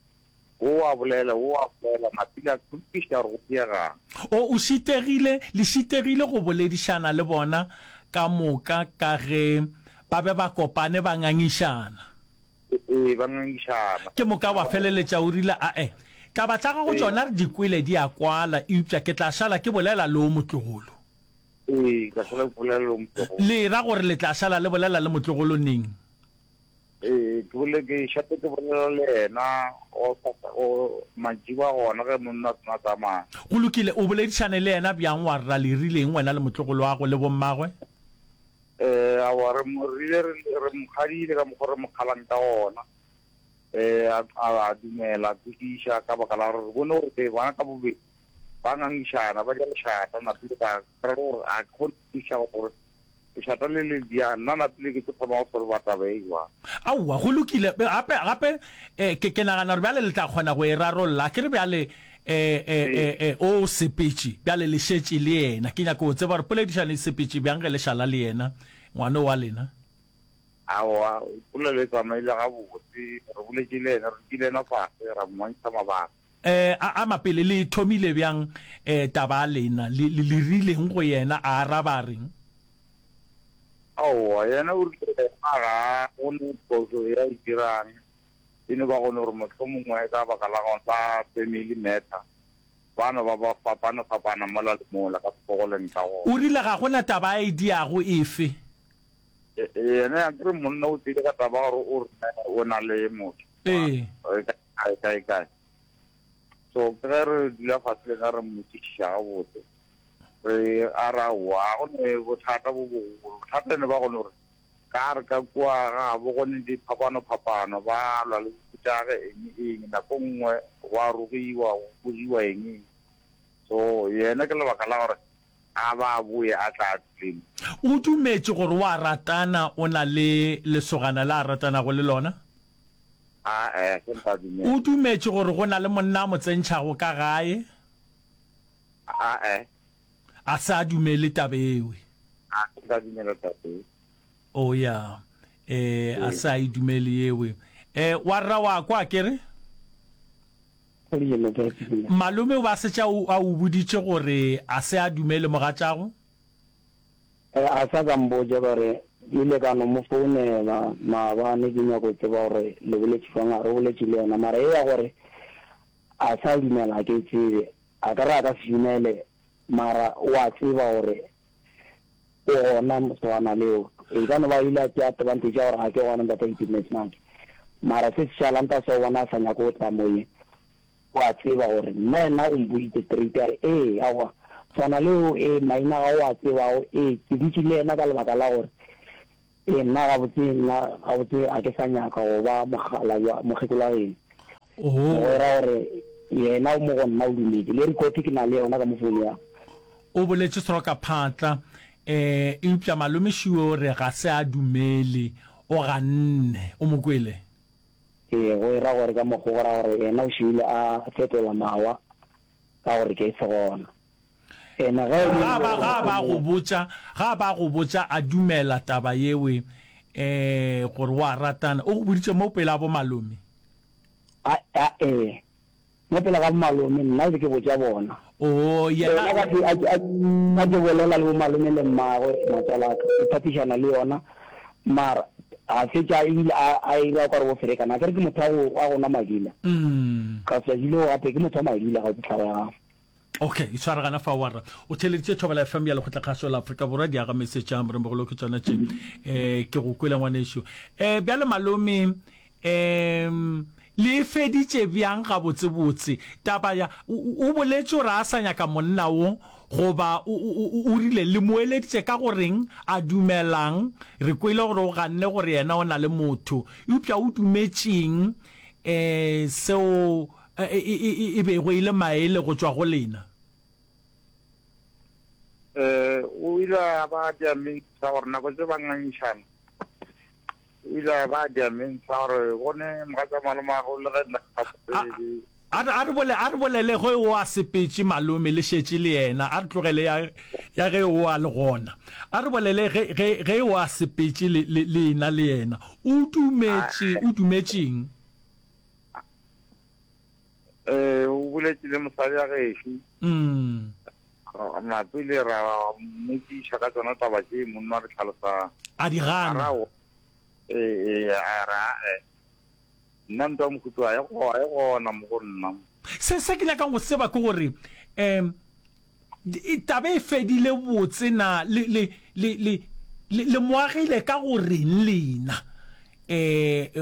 wo a bolela, wo a bolela, Mapile a kwešiša gore go diegang. O, o šitegile, le šitegile go boledišana le bona ka moka ka ge ba be ba kopane ba ngangišana. Ee, ba ngangišana. Ke moka wa feleletša o rile, Ae, taba tša gago tšona re di kwele di a kwala, eupša ke tla šala ke bolela le o motlogolo. Ee, ke tla šala ke bolela le o motlogolo. Le ra gore le tla šala le bolela le motlogolo neng? Ee, ke bole ke šate ke bolela le yena go go mantšiboa gona ge monna a sena tsamaya. Go lokile, o boledišane le yena bjang wa rra le rileng wena le motlogolo wa go le bommagwe? Ee, aowa re mo rile re re mo kgadile ka mokgwa re mo kgalang ka gona. Ee, a a dumela a kwešiša ka baka la gore re bone gore bona ka bobedi ba ngangišana ba ja lešata napile ka re gore a ke kgone go kwešiša gore Lešata le le bjang? Nna napile ke tlo thoma go solva taba e jwang? Aowa, go lokile. Gape, gape, eh, ke, ke nagana gore bjale le tla kgona go e rarolla. A ke re bjale, eh, eh, eh, eh, o sepetše, bjale le šetše le yena. Ke nyaka go tseba gore poledišano e sepetše bjang ge le šala le yena, ngwano wa lena. Aowa, polelo e tsamaile gabotse. Re boletše le yena, re dutše le yena fase, ra mmontšha mabaka. Eh, a, ama pele, le e thomile bjang, eh, taba ya lena? Le, le, le rileng go yena? A araba a reng? Aowa, yena o rile yena ga a bone phošo ye a e dirang, e no ba gone gore mohlomongwe ka baka la gona ba family matter, ba no ba ba fapana-fapana mola le mola ka mokgo go leng ka gona. O rile ga go na taba a e diago efe? E, yena akere monna o tlile ka taba gore o re o na le motho. Ee. Kae, kae, kae. So ke ge re dula fase le ena re mmotšišiša gabotse, re a re aowa ga go ne bothata bo bogolo. Bothata e no ba gone gore ka re ka kua gabo go ne diphapano-phapano, ba lwa le bokutage eng eng, nako nngwe go a rogiwa, go bogiwa eng eng. So yena ke lebaka la gore a ba a boye a tla a dule mo. O dumetše gore o a ratana, o na le lesogana le a ratanago le lona? A-e, se nka dumela. O dumetše gore go na le monna a mo tsentšhago ka gae? A-e. A se a dumele taba ewe. A se nka dumela taba e. Oh, ya. Eh, a se a e dumele yewe. Eh, wa rra wa kwa, akere? Malome o ba setše a o boditše gore a se a dumele mogatšago? A sa ka mpotša ka re, Ke ile ka no mo founela maabane ke nyako tseba gore le boletše jwang, a re boletše le yena mara ye ya gore a sa dumela a ke e tsebe, a ka re a ka se dumele mara o a tseba gore o gona mosogana leo, e ka no ba ile a tšea advantage ya gore ga ke gona ntate Itumetse Make mara se se šalang ta se o bona a sa nyake go tla moyeng. O a tseba gore nna yena o mpoditše straight a re, Ee, aowa, swana le o, ee, maina ga o a tsebago, ee, ke dutše le yena ka lebaka la gore Ee, nna gabotse, nna gabotse ga ke sa nyaka go ba mokgalabje, mokgekolo wa geno. Oh. Go ra gore yena o mo go nna o dumetše. Le record ke na le yona ka mo phone ya. O boletše sroka phatla, eh, eupša malome Shuwe o re ga se a dumele, o ganne. O mo kwele? Ee, go era gore ka mokgo go ra gore yena o šuile a fetola mawa ka gore ke se gona. Ene ge e le Ga ba, ga ba go botša, ga ba go botša a dumela taba yewe, eh, gore wa ratana, o go boditše mo pele a bo malome? A, a, ee. Mo pele ga bo malome, nna be ke botša bona. Oo, yena. Yena ka ke, a, a, a ke bolela le bo malome le mmagwe, matswalaka, ke phathišana le yona, mara a fetša ebile a, a ira o ka re bo ferekana. Akere ke motho wa go, wa go nwa madila. Mm. Ka tšatši leo gape ke motho wa madila, ga ke tlhago ya gagwe. Okay, itshware gana fa warra. O theeleditše Thobela F M ya Lekgotlakgašo la Afrika Borwa, di aga message a moremogolo ke tšona tše. Eh, ke go kwele ngwanešu. Eh, bjale malome, em, le e feditše bjang gabotsebotse taba ya, o, o boletše gore a sa nyaka monna wo, goba o, o, o, o rile le mo eleditše ka go reng, a dumelang? Re kwele gore o ganne gore yena o na le motho, eupša o dumetšeng, eh, seo e, e, e, e bego e le maele go tšwa go lena? Eh, o ile a ba dia mentsha gore nako tse ba ngangišana, o ile a ba dia mentsha gore bone mogatša malomagwe le ge nna ke sa A, tsebe. a re, a re bole, a re bolele ge o a sepetše malome le šetše le yena, a re tlogele ya, ya ge o a le gona. A re bolele ge, ge, ge o a sepetše le, le, lena le yena. O dumetše, o dumetšeng? Eh, o boletše le mosadi ya gešo. Mm. Napile ra mmotšiša ka tsona taba tše monna re tlhalosa. A di gana. A ra o, eh, eh, a ra, eh, nna ntwa mohuto a e go, a e gona mo go nna. Se, se ke nyakang go tseba ke gore, em, taba e fedile botse na, le, le, le, le, le, le mo agile ka go reng lena? Eh,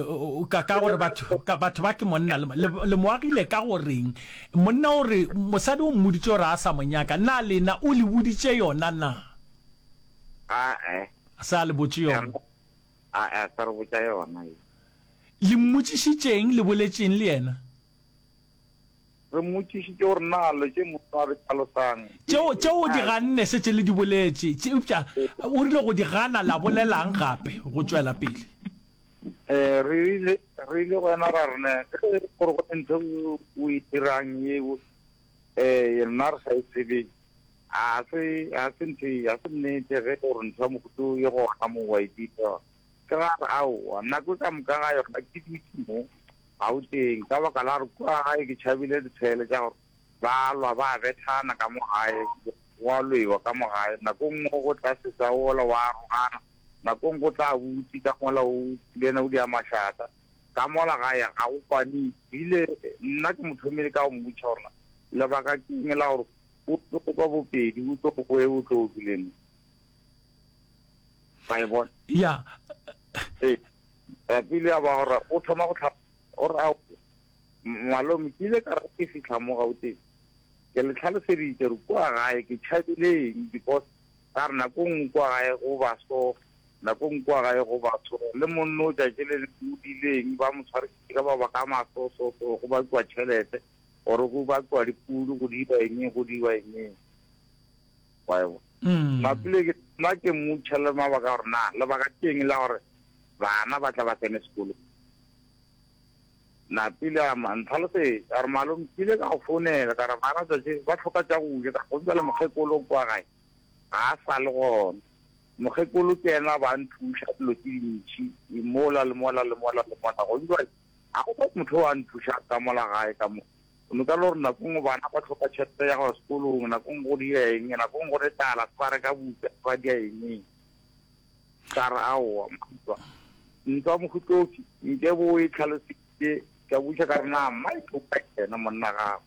ka, ka gore batho, ka, batho ba ke monna, le, le, le mo agile ka go reng? Monna o re, mosadi o mmoditše gore a sa mo nyaka, na lena o le boditše yona na? Ae. A sa le botše yona. Ae, a sa re botša yona. Le mmotšišitšeng, le boletšeng le yena? Re mmotšišitše gore na lo tše monna a re hlalosang. Tšeo, tšeo o di ganne, šetše le di boletše. Tše, eupša o rile go di gana, la bolelang gape go tšwela pele? Eh, re rile, re ile go yena ra re, ne, ge e le gore go ne ntho o e dirang yeo, eh, rena re sa e tsebeng, ga se, ga se ntho e, ga se nnete ge gore ntho ya mohuta o e gona mo wa e dira. Ke ra re, aowa, nako ka moka ga yona ke dutše mo Gauteng, ka baka la gore kua gae ke tšhabile ditshele tša gore ba lwa ba bethana ka mo gae, go a lwewa ka mo gae. Nako nngwe go tla sesa wola wa arogana, nako nngwe go tla buti ka mola o le yena o dia mašata. Ka mola gae ga go kwane. Ebile nna ke mo thomile ka go mmotšiša gore na lebaka ke eng la gore o tlo kwa Bopedi, o tlo boe o tlo dule mo. Wa e bona? Ya. Ee. Pele ya ba gore o thoma go hlapa, o re, Ao, malome, ke ile ka re ke fihla mo Gauteng, ke le hlaloseditše gore kua gae ke tšhabile eng, because ka re nako nngwe kua gae go ba so, nako nngwe kua gae go ba so, le monno o tšatši le lengwe o diile eng, ba mo tshwarišitše ka mabaka a maso so so, go bakiwa tšhelete, gore go bakiwa dipudi, go diwa eng, go diwa eng. Wa e bona? Napile ke, nna ke mmotšiša le mabaka gore na lebaka ke eng la gore bana ba tla ba tsene sekolo. Napile a ma ntlhalosetša, a re, Malome, ke ile ka go founela ka re bana tšatši ba hloka tša go ja, ka re bjale mokgekolo kwa gae ga a sa le gona. Mokgekolo ke yena ba nthuša dilo tše dintši mola le mola le mola le mola. Go bjale ga go motho o a nthuša ka mola gae ka mo. O no ka le gore nako nngwe bana ba hloka tšhelete ya go ya sekolong, nako nngwe go dira eng, nako nngwe go ne tlala, se ba reka buka, se ba dia eng. Ka re, Aowa, ntwa, ntwa Mohutofi, nke bo o e tlhalositše. Ka buša ka re, Na Mike o kae yena monna gago?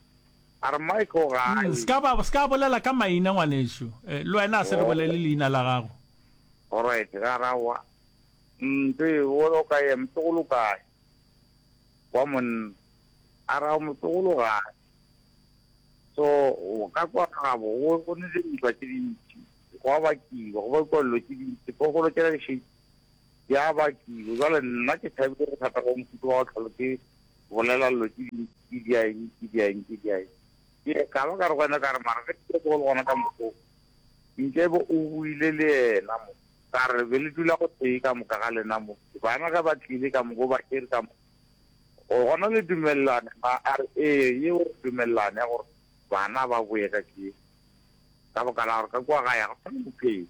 A re, Mike o gae. Se ka ba, se ka bolela ka maina, ngwanešu. Le wena a se re bolele leina la gago. Alright, ka re, Aowa, ntwe, o kae, motlogolo o kae? Wa monna. A re, Ao, motlogolo gae. So, ka kwa gabo, go, go ne dintwa tše dintši. Gwa bakiwa, go bakiwa dilo tše dintši. Phoofolo tšela di šetše Di a bakiwa. Jwale nna ke thabile bothata bja mohuta wa go hlolo ke bolela dilo tše dintši, ke dia eng, ke dia eng, ke dia eng. Ke ka ba ka re go yena ka re, mara ge ke go le gona ka mokgo, nke be o buile le yena mo. Ka re be le dula gotee ka moka ga lena mo. Bana ge ba tlile ka moka, o ba tšere ka moka. Gona le dumelelane na? A re, Ee, yeo re dumelelane ya gore bana ba boye ka ke ka baka la gore ka kua gae ga go sa na bophelo.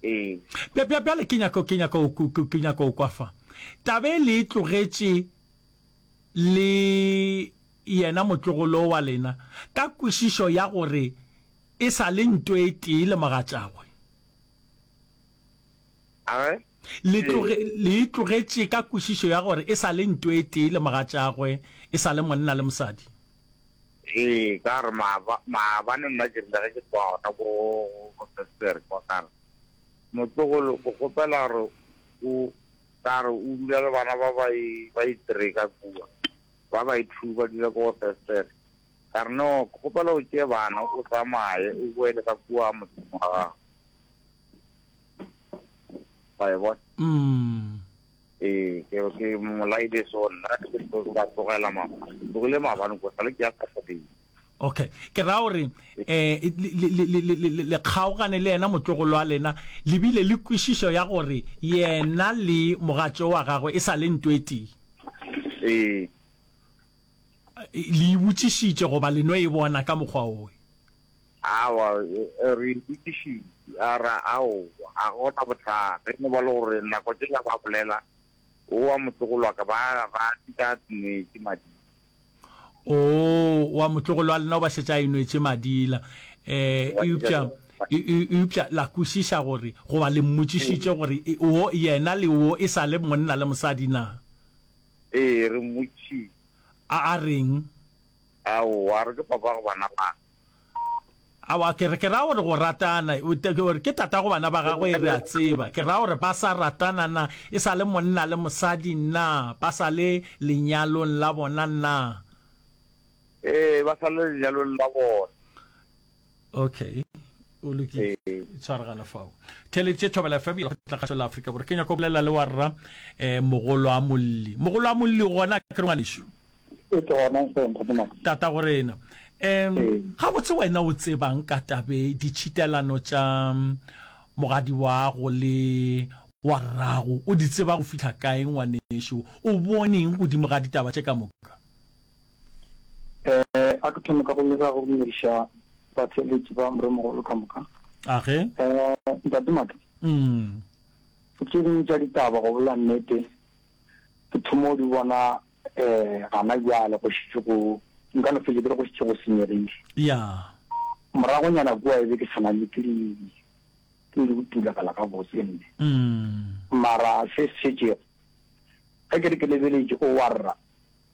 Ee. Bja, bja, bjale ke nyaka, ke nyaka, ke, ke nyaka go kwa fa. Taba e le e tlogetše le yena motlogolo wa lena ka kwešišo ya gore e sa le nto e tee le mogatšagwe. A re, Le tloge, le e tlogetše ka kwešišo ya gore e sa le nto e tee le mogatšagwe, e sa le monna le mosadi. Ee, ka gore maaba, maabane nna ke rile ge ke tloga gona ko, ko Sestere kwa, ka re, Motlogolo, ke kgopela gore o, ka re o dula le bana ba ba e, ba e three ka kua, ba ba e two ba dula ko go Sestere. Ka re, No, ke kgopela o tšee bana o tsamaye o boele ka kua motseng wa gago. Wa e bona? Mm. Ee, ke ke molaile so nna ke tlo ba tlogela maabane. Ke tlogile maabane ko sale ke ya Saturday. Okay. Ke ra gore eh le le le le le kgaogane le yena motlogolo wa lena le bile le kwešišo ya gore yena le mogatšo wa gagwe e sa le nto e tee. Ee. Le e botšišitše goba le no e bona ka mokgwa owe? Aowa, re e botšišitše. A re, Aowa, ga go na bothata. E no ba le gore nako tšela ba bolela, o wa motlogolo wa ka, ba, ba šetše a nwetše madila. Oo, wa motlogolo wa lena o ba šetše a e nwetše madila. Eh, eupša, eupša la kwešiša gore, goba le mmotšišitše gore wo, yena le wo e sa le monna le mosadi na? Ee, re mmotšišitše. A a reng? Aowa, a re ke papago bana ba ka. Aowa, ke re, ke ra gore go ratana, gore ke tatago bana ba gagwe, re a tseba. Ke ra gore ba sa ratana na, e sa le monna le mosadi na, ba sa le lenyalong la bona na? Ee, ba sa le lenyalong la bona. Okay, o lokile. Tshwaragana fao. Theeleditše Thobela F M ya Lekgotla la Afrika Borwa. Ke nyaka go bolela le wa rra eh, mogolo a Molli. Mogolo a Molli gona ke re ngwanešu. E ke gona hle ntate Max. Tata go rena. Um gabotse wena o tsebang ka tabe ditšhitelano tša mogadi wago le wa rrago o di tseba go fihla kae ngwanešu? O boneng godimo ga ditaba tše ka moka? Eh, a ke thome ka go leka go dumediša batheeletši ba Moremogolo ka moka. Age. Eh, Ntate Maka. Mm. Tše dingwe tša ditaba go bolela nnete ke thoma go di bona eh gana bjale go šetše go nka no fetša ke re go šetše go senyegile. Ya. Moragonyana kua e be ke sa na le ke di ke di utulagala gabotse nne. Mm. Mara se se šetšego ge ke re ke lebeletše o warra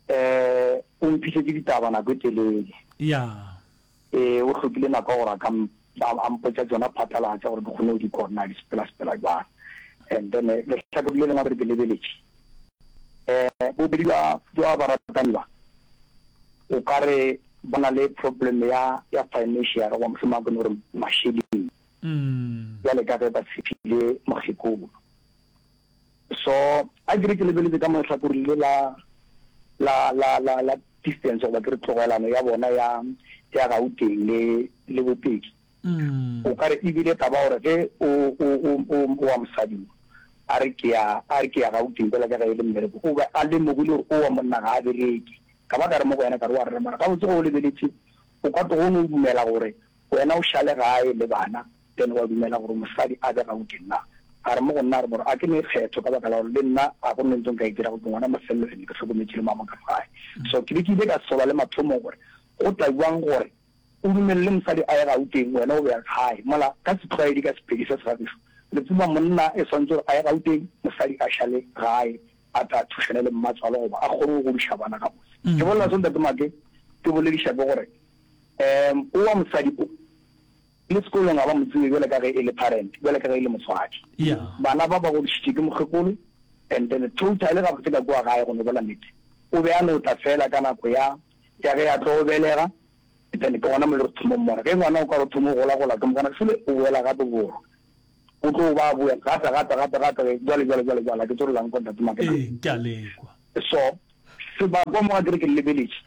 Eh, o mphišetše ditaba nako e telele. Ya. Ee, o hlokile nako ya gore a ka a mpotša tšona phatlalatša gore ke kgone go di kwa gore na di sepela-sepela jwang. And then lehlakore le lengwe gape ke lebeletše, eh, bobedi bja bja baratani ba, o ka re ba na le problem ya ya financial goba mohlomongwe ke no re mašeleng, bjale ka ge ba tshepile mokgekolo. So, a ke re ke lebeletše ka mo lehlakoreng le la, la, la, la, la distance, goba ke re tlogelano ya bona ya, ya Gauteng le, le Bopedi. O ka re e bile taba gore ge o, o, o, o, o wa mosadi o, a re ke ya, a re ke ya Gauteng bjalo ka ge e le mmereko, o be a lemogile gore o wa monna ga a bereke. Ka ba ka re mo go yena, ka re wa rera, mara gabotse ge o lebeletše, o ka tloga o no dumela gore Wena o šale gae le bana, then wa dumela gore mosadi a be Gauteng na? A re mo go nna, a re, Moro, a ke ne kgetho ka baka la gore le nna ga go ne ntho nka e dirago, ke ngwana mafelelo and ke hlokometše le mama ka mo gae. So ke be ke ile ka sola le mathomong gore go tla bjang gore o dumelele mosadi a ye Gauteng wena o be gae, mola ka setlwaedi ka Sepedi se segagešo re tseba monna e swanetše gore a ye Gauteng mosadi a šale gae a tla thušane le mmatswalo goba a kgone go godiša bana gabotse. Ke bolela so Ntate Make, ke bolediša ke gore Um o wa mosadi o, le sekolong ga ba mo tsebe bjalo ka ge e le parent, bjalo ka ge e le motswadi. Yeah. Bana ba ba godišitše ke mokgekolo and then totally gabotse ka kua gae go no bolela nnete, o be a no tla feela ka nako ya, ya ge a tlo belega, then ke gona mo le re thomong mmona. Ge ngwana o ka re o thoma go gola-gola ke mokana fele o boela gape borwa. O tlo ba a boya gape, gape, gape, gape, jwale, jwale, jwale, jwale. A ke tsore la nkwa, Ntate Makena? Ee, ke a le kwa. So, sebakwa mo ga ke re ke lebeletše,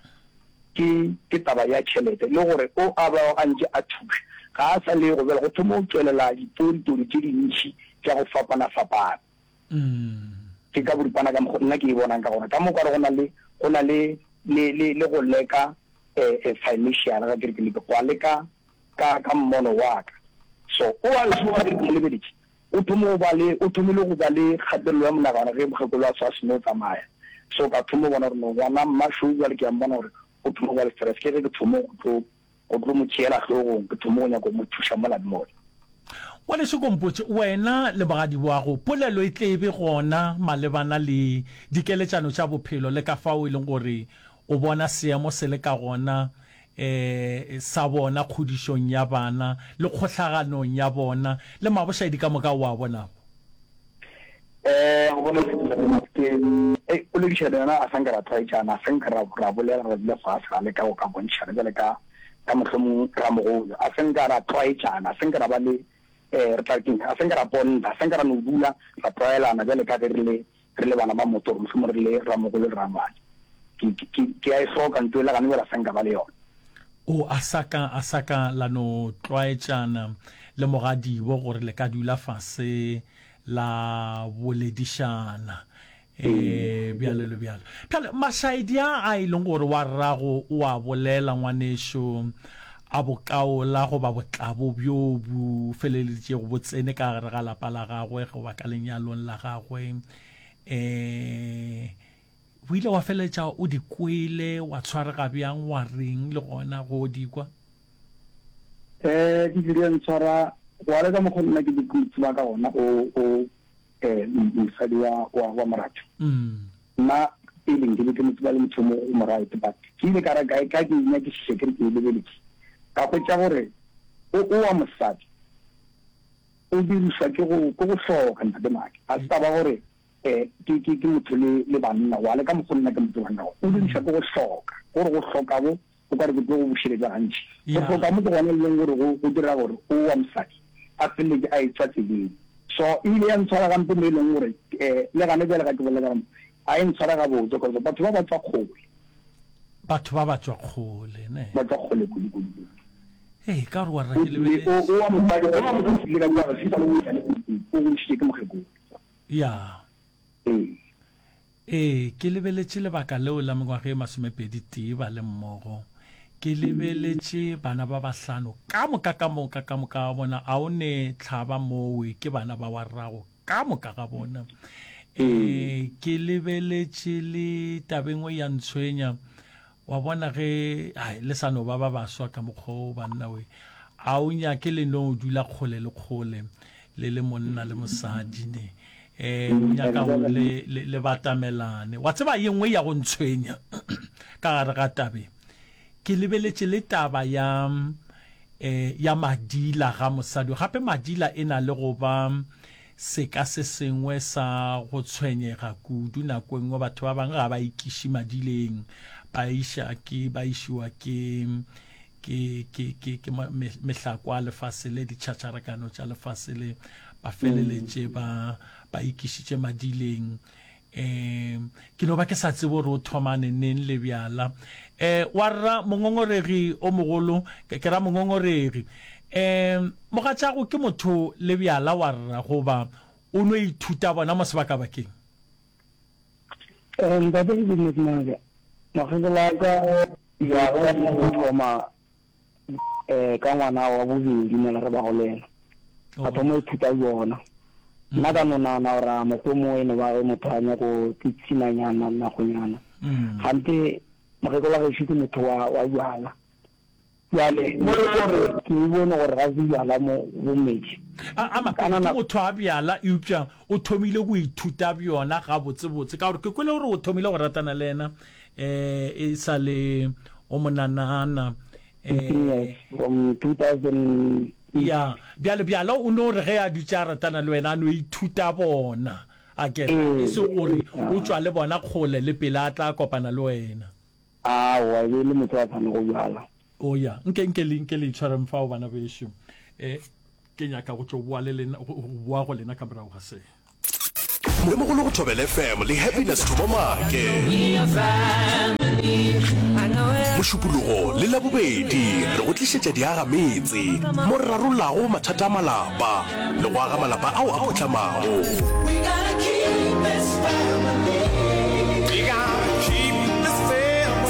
ke, ke taba ya tšhelete, le gore o a bago a ntše a thuša, ga a sa le go bjale go thoma go tšwelela dipontoni tše dintši tša go fapana-fapana. Ke ka boripana ka mokgo nna ke e bonang ka gona. Ka mo ka re go na le, go na le, le, le, le go leka, eh, eh, financial, ga ke re ke leke, gwa leka ka, ka mmono wa ka. So, o a o a ke re ke mo lebeletše, o thoma go ba le, o thomile go ba le kgatelelo ya monagano ge mokgekolo a sa seno tsamaya. So, ka thoma go bona gore no, ngwana mma šo bjale ke a mmona gore o thoma go ba le stress. Ke ge ke thoma go tlo, go tlo mo tšeela hlogong, ke thoma go nyaka go mo thuša mola le mola. Ngwanešu Kompotše, wena le mogadiboago, polelo e tle e be gona malebana le dikeletšano tša bophelo le ka fao e leng gore o bona seemo se le ka gona um sa bona kgodišong ya bana le kgohlaganong ya bona le mabošaedi ka moka o a bonago? Um go bona ke ei poledišano yona a sa nka ra tlwaetšana, a sa nka ra ra bolela ra dula fase ra leka go ka bontšhana bjale ka ka mohlomong ramogolo, a sa nka ra tlwaetšana, a sa nka ra ba le um re tla re keng, a sa nka ra bonda, a sa nka ra no dula ra tlwaelana bjale ka ge re le re le bana ba motho gore mohlomong re le ramogolo le rangwane. Ke, ke, ke, ke a e hloka nto e le gane bjale a sa nka ba le yona. O, a sa ka, a sa ka la no tlwaetšana le mogadibo gore le ka dula fase la boledišana, e, bjalo le bjalo. Bjale, mašaedi a a e leng gore wa rrago o a bolela, ngwanešu, a bokaola goba botlabo bjo bo feleleditšego bo tsene ka gare ga lapa la gagwe goba ka lenyalong la gagwe, e, o ile wa feleletša o di kwele, wa tshwarega bjang, wa reng le gona go di kwa? Eh, ke tlile ntshwara go ya le ka mokgwa nna ke be ke tseba ka gona o o eh mosadi wa wa wa moratho. Nna pele nke be ke mo tseba le motho mo mo right, but ke ile ka re ka ka ke nyakišiša ke re ke e lebeletše, ka hwetša gore o o wa mosadi o dirišwa ke go ke go hloka ntate Maki. A se taba gore eh ke ke ke motho le le banna wa le ka mokgwa nna ke mo tsebang ka gona, o dirišwa ke go hloka, gore go hloka bo O ka re ke tlo go bušeletša gantši. Go hloka mo ke gona e leng gore go, go dira gore o wa mosadi a feleletše a etšwa tseleng. So e ile ya ntshwara gampe mo e leng gore eh, le gane bjale ga ke bolela ka mo, ga e ntshware gabotse cause batho ba ba tšwa kgole. Batho ba ba tšwa kgole, ne? Ba tšwa kgole kudu kudu kudu. Ee, ka gore wa rra O ke tlile, o, lebeletše. o wa mosadi, o wa mosadi o tlile ka kua ga sa le o monyane kudu, o godišitše ke mokgekolo. Ya. Ee. Ee, ke lebeletše lebaka leo la mengwaga e masomepedi tee ba le mmogo. Ke lebeletše bana ba bahlano, ka moka, ka moka, ka moka ga bona, a o ne hlaba mowe, ke bana ba wa rrago, ka moka ga bona. Ee, ke lebeletše le taba e nngwe ya ntshwenya, Wa bona ge, hai, le sa no ba ba baswa ka mokgwa wo, banna we. A o nyake le no dula kgole le kgole, le le monna le mosadi, ne. Eh, o nyaka gore le, le, le batamelane. Wa tseba ye nngwe ya go ntshwenya ka gare ga tabe, ke lebeletše le taba ya, eh, ya madila ga mosadi. Gape madila e na le go ba Seka se sengwe sa go tshwenyega kudu, nako e nngwe batho ba bangwe ga ba ikiše madileng, ba iša ke, ba išiwa ke, ke, ke, ke, ke mehlako a lefase le, ditšhatšharakano tša lefase le, ba feleletše ba, ba ikišitše madileng. Um ke no ba ke sa tsebe gore o thomane neng le bjala. Um wa rra mongongoregi o mogolo, ke ra mongongoregi. Um mogatšago ke motho le bjala wa rra goba o no ithuta bona mo sebakabakeng? Um ntate ke Goodness Mabja, mokgekolo wa ka bjala bo thoma um ka ngwana wa bobedi mola re bago le yena, a thoma go ithuta bjona. Nna ka no nagana gore a mohlomongwe e no ba ge motho a nyako tsitsinanyana nakonyana. Kganthe mokgekolo wa gešo ke motho wa wa bjala. Bjale mo e le gore ke e bone gore ga se bjala mo bo metše. A a Ka Mapedi ke nana. motho wa bjala eupša o thomile go ithuta bjona gabotsebotse ka gore ke kwele gore o thomile go ratana le yena um e sa le o monanana Fifteen years from two thousand eight. Ya, bjale bjala o no re ge a dutše a ratana le wena a no ithuta bona, a ke re, e se gore o tšwa le bona kgole le pele a tla kopana le wena. Aowa, e be e le motho a sa nwego bjala. O ya, nke, nke le, nke le itshwareng fao, bana bešo. E, Ke nyaka go tlo boa le lena, go boa go lena ka morago ga se. Mogolo go Thobela F M le Happiness Thomo Maake. Mošupologo le Labobedi re go tlišetša diagametse mo re rarollago mathata a malapa le go aga malapa ao a phuhlamago.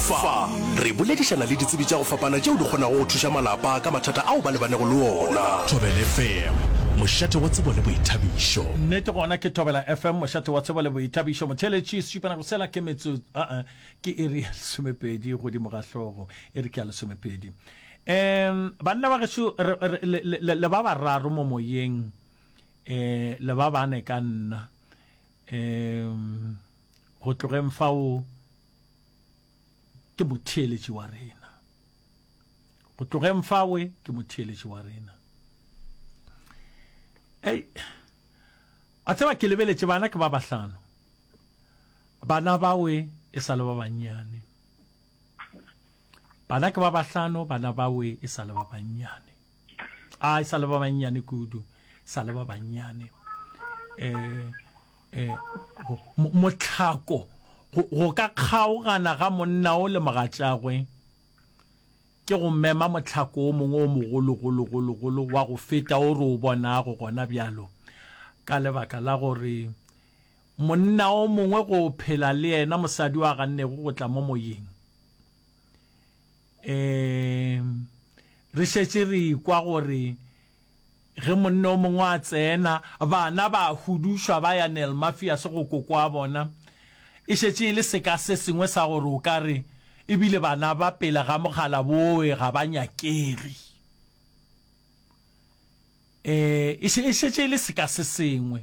Fa re boledišana le ditsebi tša go fapana tšeo di kgonago go thuša malapa ka mathata ao ba lebanego le ona. Thobela F M, mošate wa tsebo le boithabišo. Nnete gona ke Thobela F M, mošate wa tsebo le boithabišo. Motheeletši, sešupanako sela ke metso, a-a, ke iri ya lesomepedi godimo ga hlogo, iri ke ya lesomepedi. Um, banna ba gešo, re, re, le, le, le ba bararo mo moyeng, um, le ba bane ka nna. Um, go tlogeng fao ke motheeletši wa rena. Go tlogeng fawe ke motheeletši wa rena. Ei, a tseba ke lebeletše bana ke ba bahlano. Bana bawe e sa le ba bannyane. Bana ke ba bahlano, bana bawe e sa le ba bannyane. A e sa le ba bannyane kudu, sa le ba bannyane. Eh, eh, mohlako go, go ka kgaogana ga monna o le mogatšagwe ke go mema mohlako o mongwe o mogologologologolo wa go feta o re o bonago gona bjalo, ka lebaka la gore monna o mongwe go phela le yena mosadi wa gannego go tla mo moyeng. Um, re šetše re ikwa gore ge monna o mongwe a tsena, bana ba hudušwa ba ya Nel Mafias go koko wa bona. E šetše e le seka se sengwe sa gore o ka re ebile bana ba pele ga mogala boe ga ba nyakege. Eh, e šetše e le seka se sengwe.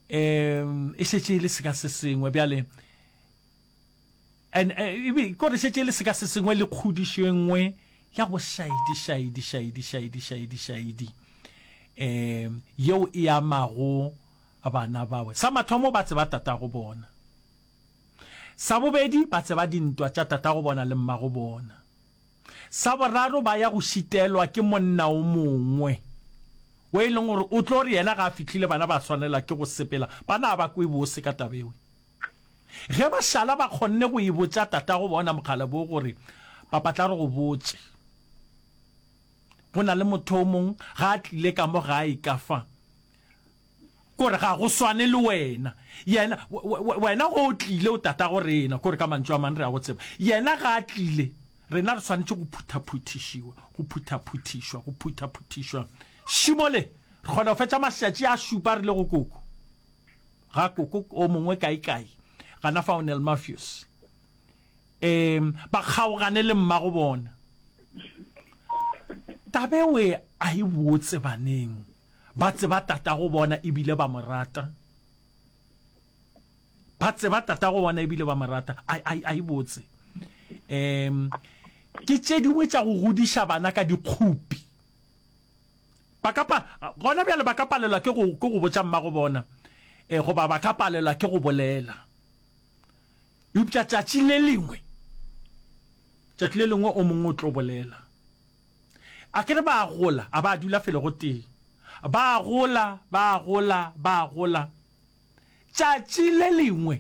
Um, e šetše e le seka se sengwe bjale. And ebe kore šetše e le seka se sengwe le kgodišo e nngwe ya go šaidi šaidi šaidi šaidi šaidi šaidi um yeo e amago bana bawe. Sa mathomo ba tseba tatago bona. Sa bobedi ba tseba dintwa tša tatago bona le mmago bona. Sa boraro ba ya go šitelwa ke monna o mongwe o e leng gore o tlo re yena ga a fihlile bana ba swanela ke go sepela, bana ba kwe bose ka tabewe. Ge ba šala ba kgonne go e botša tatago bona mogala bo gore papa tla re go botše, go na le motho o mong ga a tlile ka mo gae ka fa, kore ga go swane le wena. Yena wena go o tlile o tatago rena, kore ka mantšu a mang re a go tseba. Yena ga a tlile, rena re swanetše go phuthaphuthišiwa, go phuthaphuthišwa, go phuthaphuthišwa. Šimo le, re kgona go fetša mašatši a šupa re le go koko. Ga koko o mongwe kae kae, gana fa o Nel Mafios. Um, ba kgaogane le mmago bona. Tabewe a e botse baneng, ba tseba tatago bona ebile ba mo rata. Ba tseba tatago bona ebile ba mo rata, a, a, a e botse. Um, ke tše dingwe tša go godiša bana ka dikgopi. Ba ka pa, gona bjale ba ka palelwa ke go, ke go botša mmago bona, eh, goba ba ka palelwa ke go bolela. Eupša tšatši le lengwe, tšatši le lengwe o mongwe o tlo bolela. A ke re ba gola, a ba dula felo go tee. Ba gola, ba gola, ba gola. Tšatši le lengwe,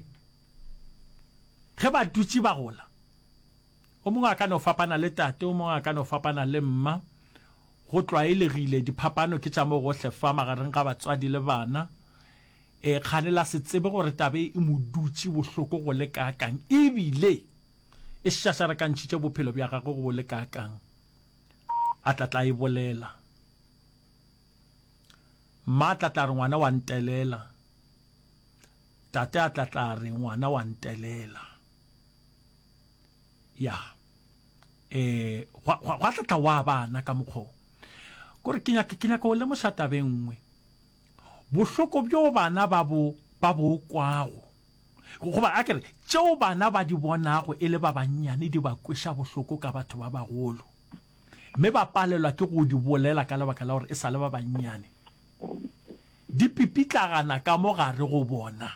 ge ba dutše ba gola, o mongwe a ka no fapana le tate, o mongwe a ka no fapana le mma. Go tlwaelegile, diphapano ke tša mo gohle fa magareng ga batswadi le bana. E, kgane la se tsebe gore tabe e mo dutše bohloko go le kaakang, ebile e šašarakantšhitše bophelo bja gagwe go le kaakang. A tla tla e bolela. Mma a tla tla re ngwana wa ntelela. Tate a tla tla re ngwana wa ntelela. Ya. Eh, gwa, gwa, gwa tla tla wa bana ka mokgwa. Kore ke nyaka, ke nyaka go lemoša tabe nngwe. Bohloko bjo bana ba bo, ba bo kwago, goba a ke re, tšeo bana ba di bonago e le ba bannyane di ba kweša bohloko ka batho ba bagolo, mme ba palelwa ke go di bolela ka lebaka la gore e sa le ba bannyane. Di pipitlagana ka mo gare go bona.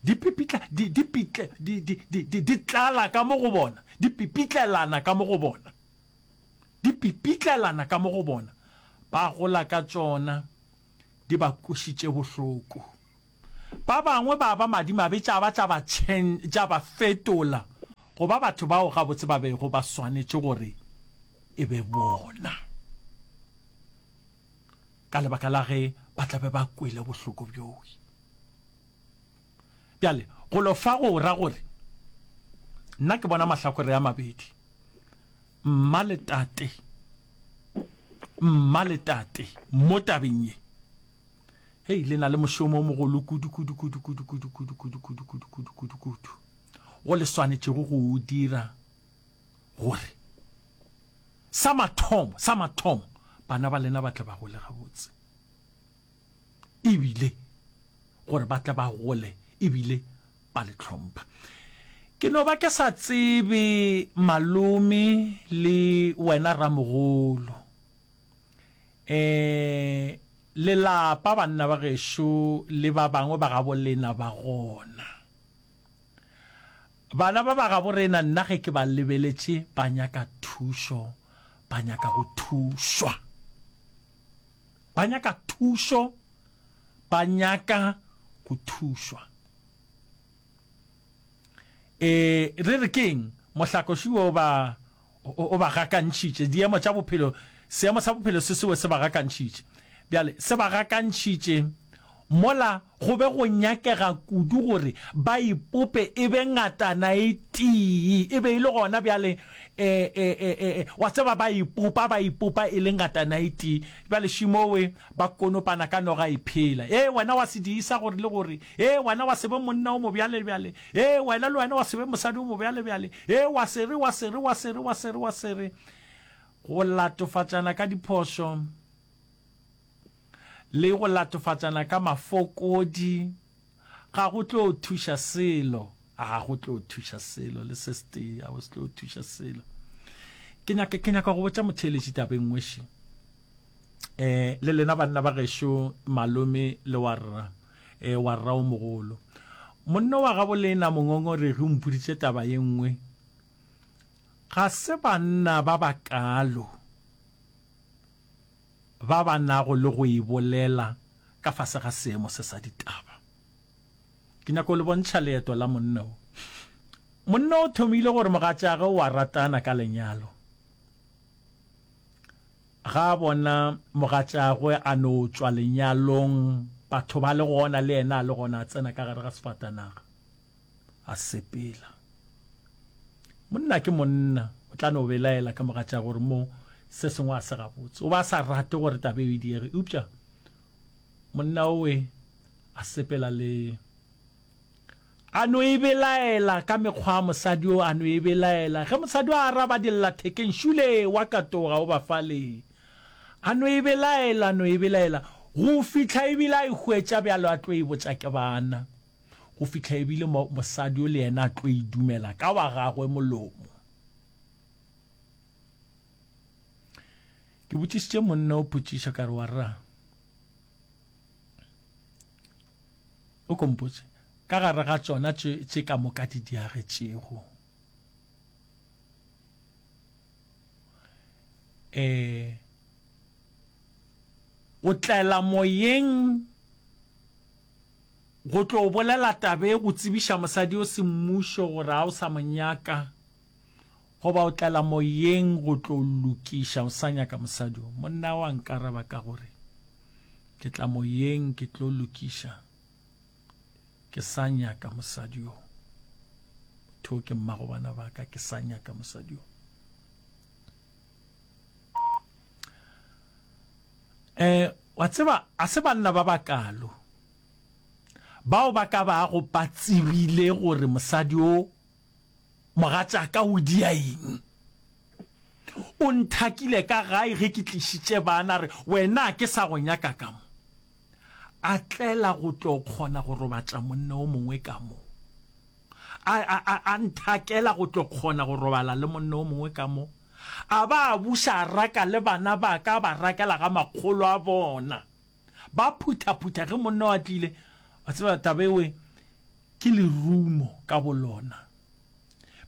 Di pipitla, di, di pitle, di, di, di, di, di tlala ka mo go bona. Di pipitlelana ka mo go bona. Di pipitlelana ka mo go bona. Ba gola ka tšona, di ba kwešitše bohloko. Ba bangwe ba ba madimabe tša ba tša ba tša ba fetola go ba batho bao gabotse ba bego ba swanetše gore e be bona, ka lebaka la ge ba tla be ba kwele bohloko bjoo. Bjale, golo fa go ra gore nna ke bona mahlakore a mabedi, mma le tate, mma le tate mo tabeng ye. Hei, le na le mošomo o mogolo kudu, kudu, kudu, kudu, kudu, kudu, kudu, kudu, kudu, kudu, kudu, kudu, wo le swanetšego go o dira gore sa mathomo, sa mathomo, bana ba lena ba tle ba gole gabotse, ebile gore ba tle ba gole ebile ba le hlompha. Ke no ba ke sa tsebe malome le wena ramogolo. E, lelapa, banna ba gešo le ba bangwe ba gabo lena ba gona. Bana ba ba gabo rena, nna ge ke ba lebeletše, ba nyaka thušo, ba nyaka go thušwa. Ba nyaka thušo, ba nyaka go thušwa. E, re re keng? Mohlakoši o ba, o, o ba gakantšhitše. Diemo tša bophelo, seemo sa bophelo se sewe se ba gakantšhitše. Bjale, se ba gakantšhitše mola go be go nyakega kudu gore ba ipope e be ngatana e tee. E be e le gona bjale, e, e, e, e, e, wa tseba, ba ipopa, ba ipopa e le ngatana e tee. Bjale šimowe ba konopana ka noga e phela. Ee, wena wa se diisa gore le gore. Ee, wena wa se be monna o mobjalebjale. Ee, wena le wena wa se be mosadi o mobjalebjale. Ee, wa se re, wa se re, wa se re, wa se re, wa se re. Go latofatšana ka diphošo le go latofatšana ka mafokodi ga go tlo thuša selo. Ga go tlo thuša selo le se setee, ga go se tlo thuša selo. Ke nyaka, ke nyaka go botša motheeletši taba e nngwe še. Eh, le lena banna ba gešo, malome le warra, eh, warra o mogolo. Monna wa gabo lena mongongoregi o mpoditše taba ye nngwe. Ga se banna ba bakaalo ba ba nago le go e bolela ka fase ga seemo se sa ditaba. Ke nyaka go le bontšha leeto la monna wo. Monna o thomile gore mogatšagwe o a ratana ka lenyalo. Ga a bona mogatšagwe a no tšwa lenyalong, batho ba le gona le yena a le gona, a tsena ka gare ga sefatanaga, a sepela. Monna ke monna, o tla no belaela ka mogatšagwe gore mo se sengwe a se gabotse. O ba a sa rate gore taba eo e diege, eupša monna owe a sepela le a no e belaela ka mekgwa ya mosadi o, a no e belaela. Ge mosadi o a araba dillathekeng, šule wa katoga o ba fale. A no e belaela, a no e belaela, go fihla ebile a e hwetša bjalo a tlo e botša ke bana. Go fihla ebile mo, mosadi o le yena a tlo e dumela ka wa gagwe molomo. Ke botšišitše monna o potšišo ka re, Warra, o ko mpotše, ka gare ga tšona tše, tše ka moka di diagetšego, eh, o tlela moyeng go tlo bolela taba e go tsebiša mosadi o semmušo gore a o sa mo nyaka, goba o tlela moyeng go tlo lokiša o sa nyaka mosadi o. Monna wa nkaraba ka gore, Ke tla moyeng ke tlo lokiša, ke sa nyaka mosadi o. Motho o ke mmago bana ba ka, ke sa nyaka mosadi o. Eh, wa tseba, a se banna ba bakalo bao ba ka bago ba tsebile gore mosadi o mogatšaka o dia eng. O nthakile ka gae ge ke tlišitše bana, re wena ke sa go nyaka ka mo. A tlela go tlo kgona go robatša monna o mongwe ka mo. A, a, a, a nthakela go tlo kgona go robala le monna o mongwe ka mo. A ba a buša a raka le bana ba ka, a ba rakela ga makgolo a bona. Ba phuthaphutha ge monna o a tlile. Wa tseba taba ewe ke lerumo ka bolona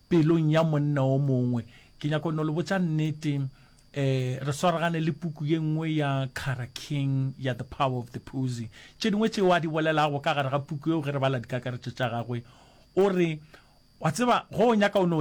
pelong ya monna o mongwe. Ke nyaka no le botša nnete, Eh, re swaragane le puku ye nngwe ya Kara King ya The Power of the Pussy. Tše dingwe tšeo a di bolelago ka gare ga puku yeo ge re bala dikakaretšo tša gagwe, o re, Wa tseba, ge o nyaka o no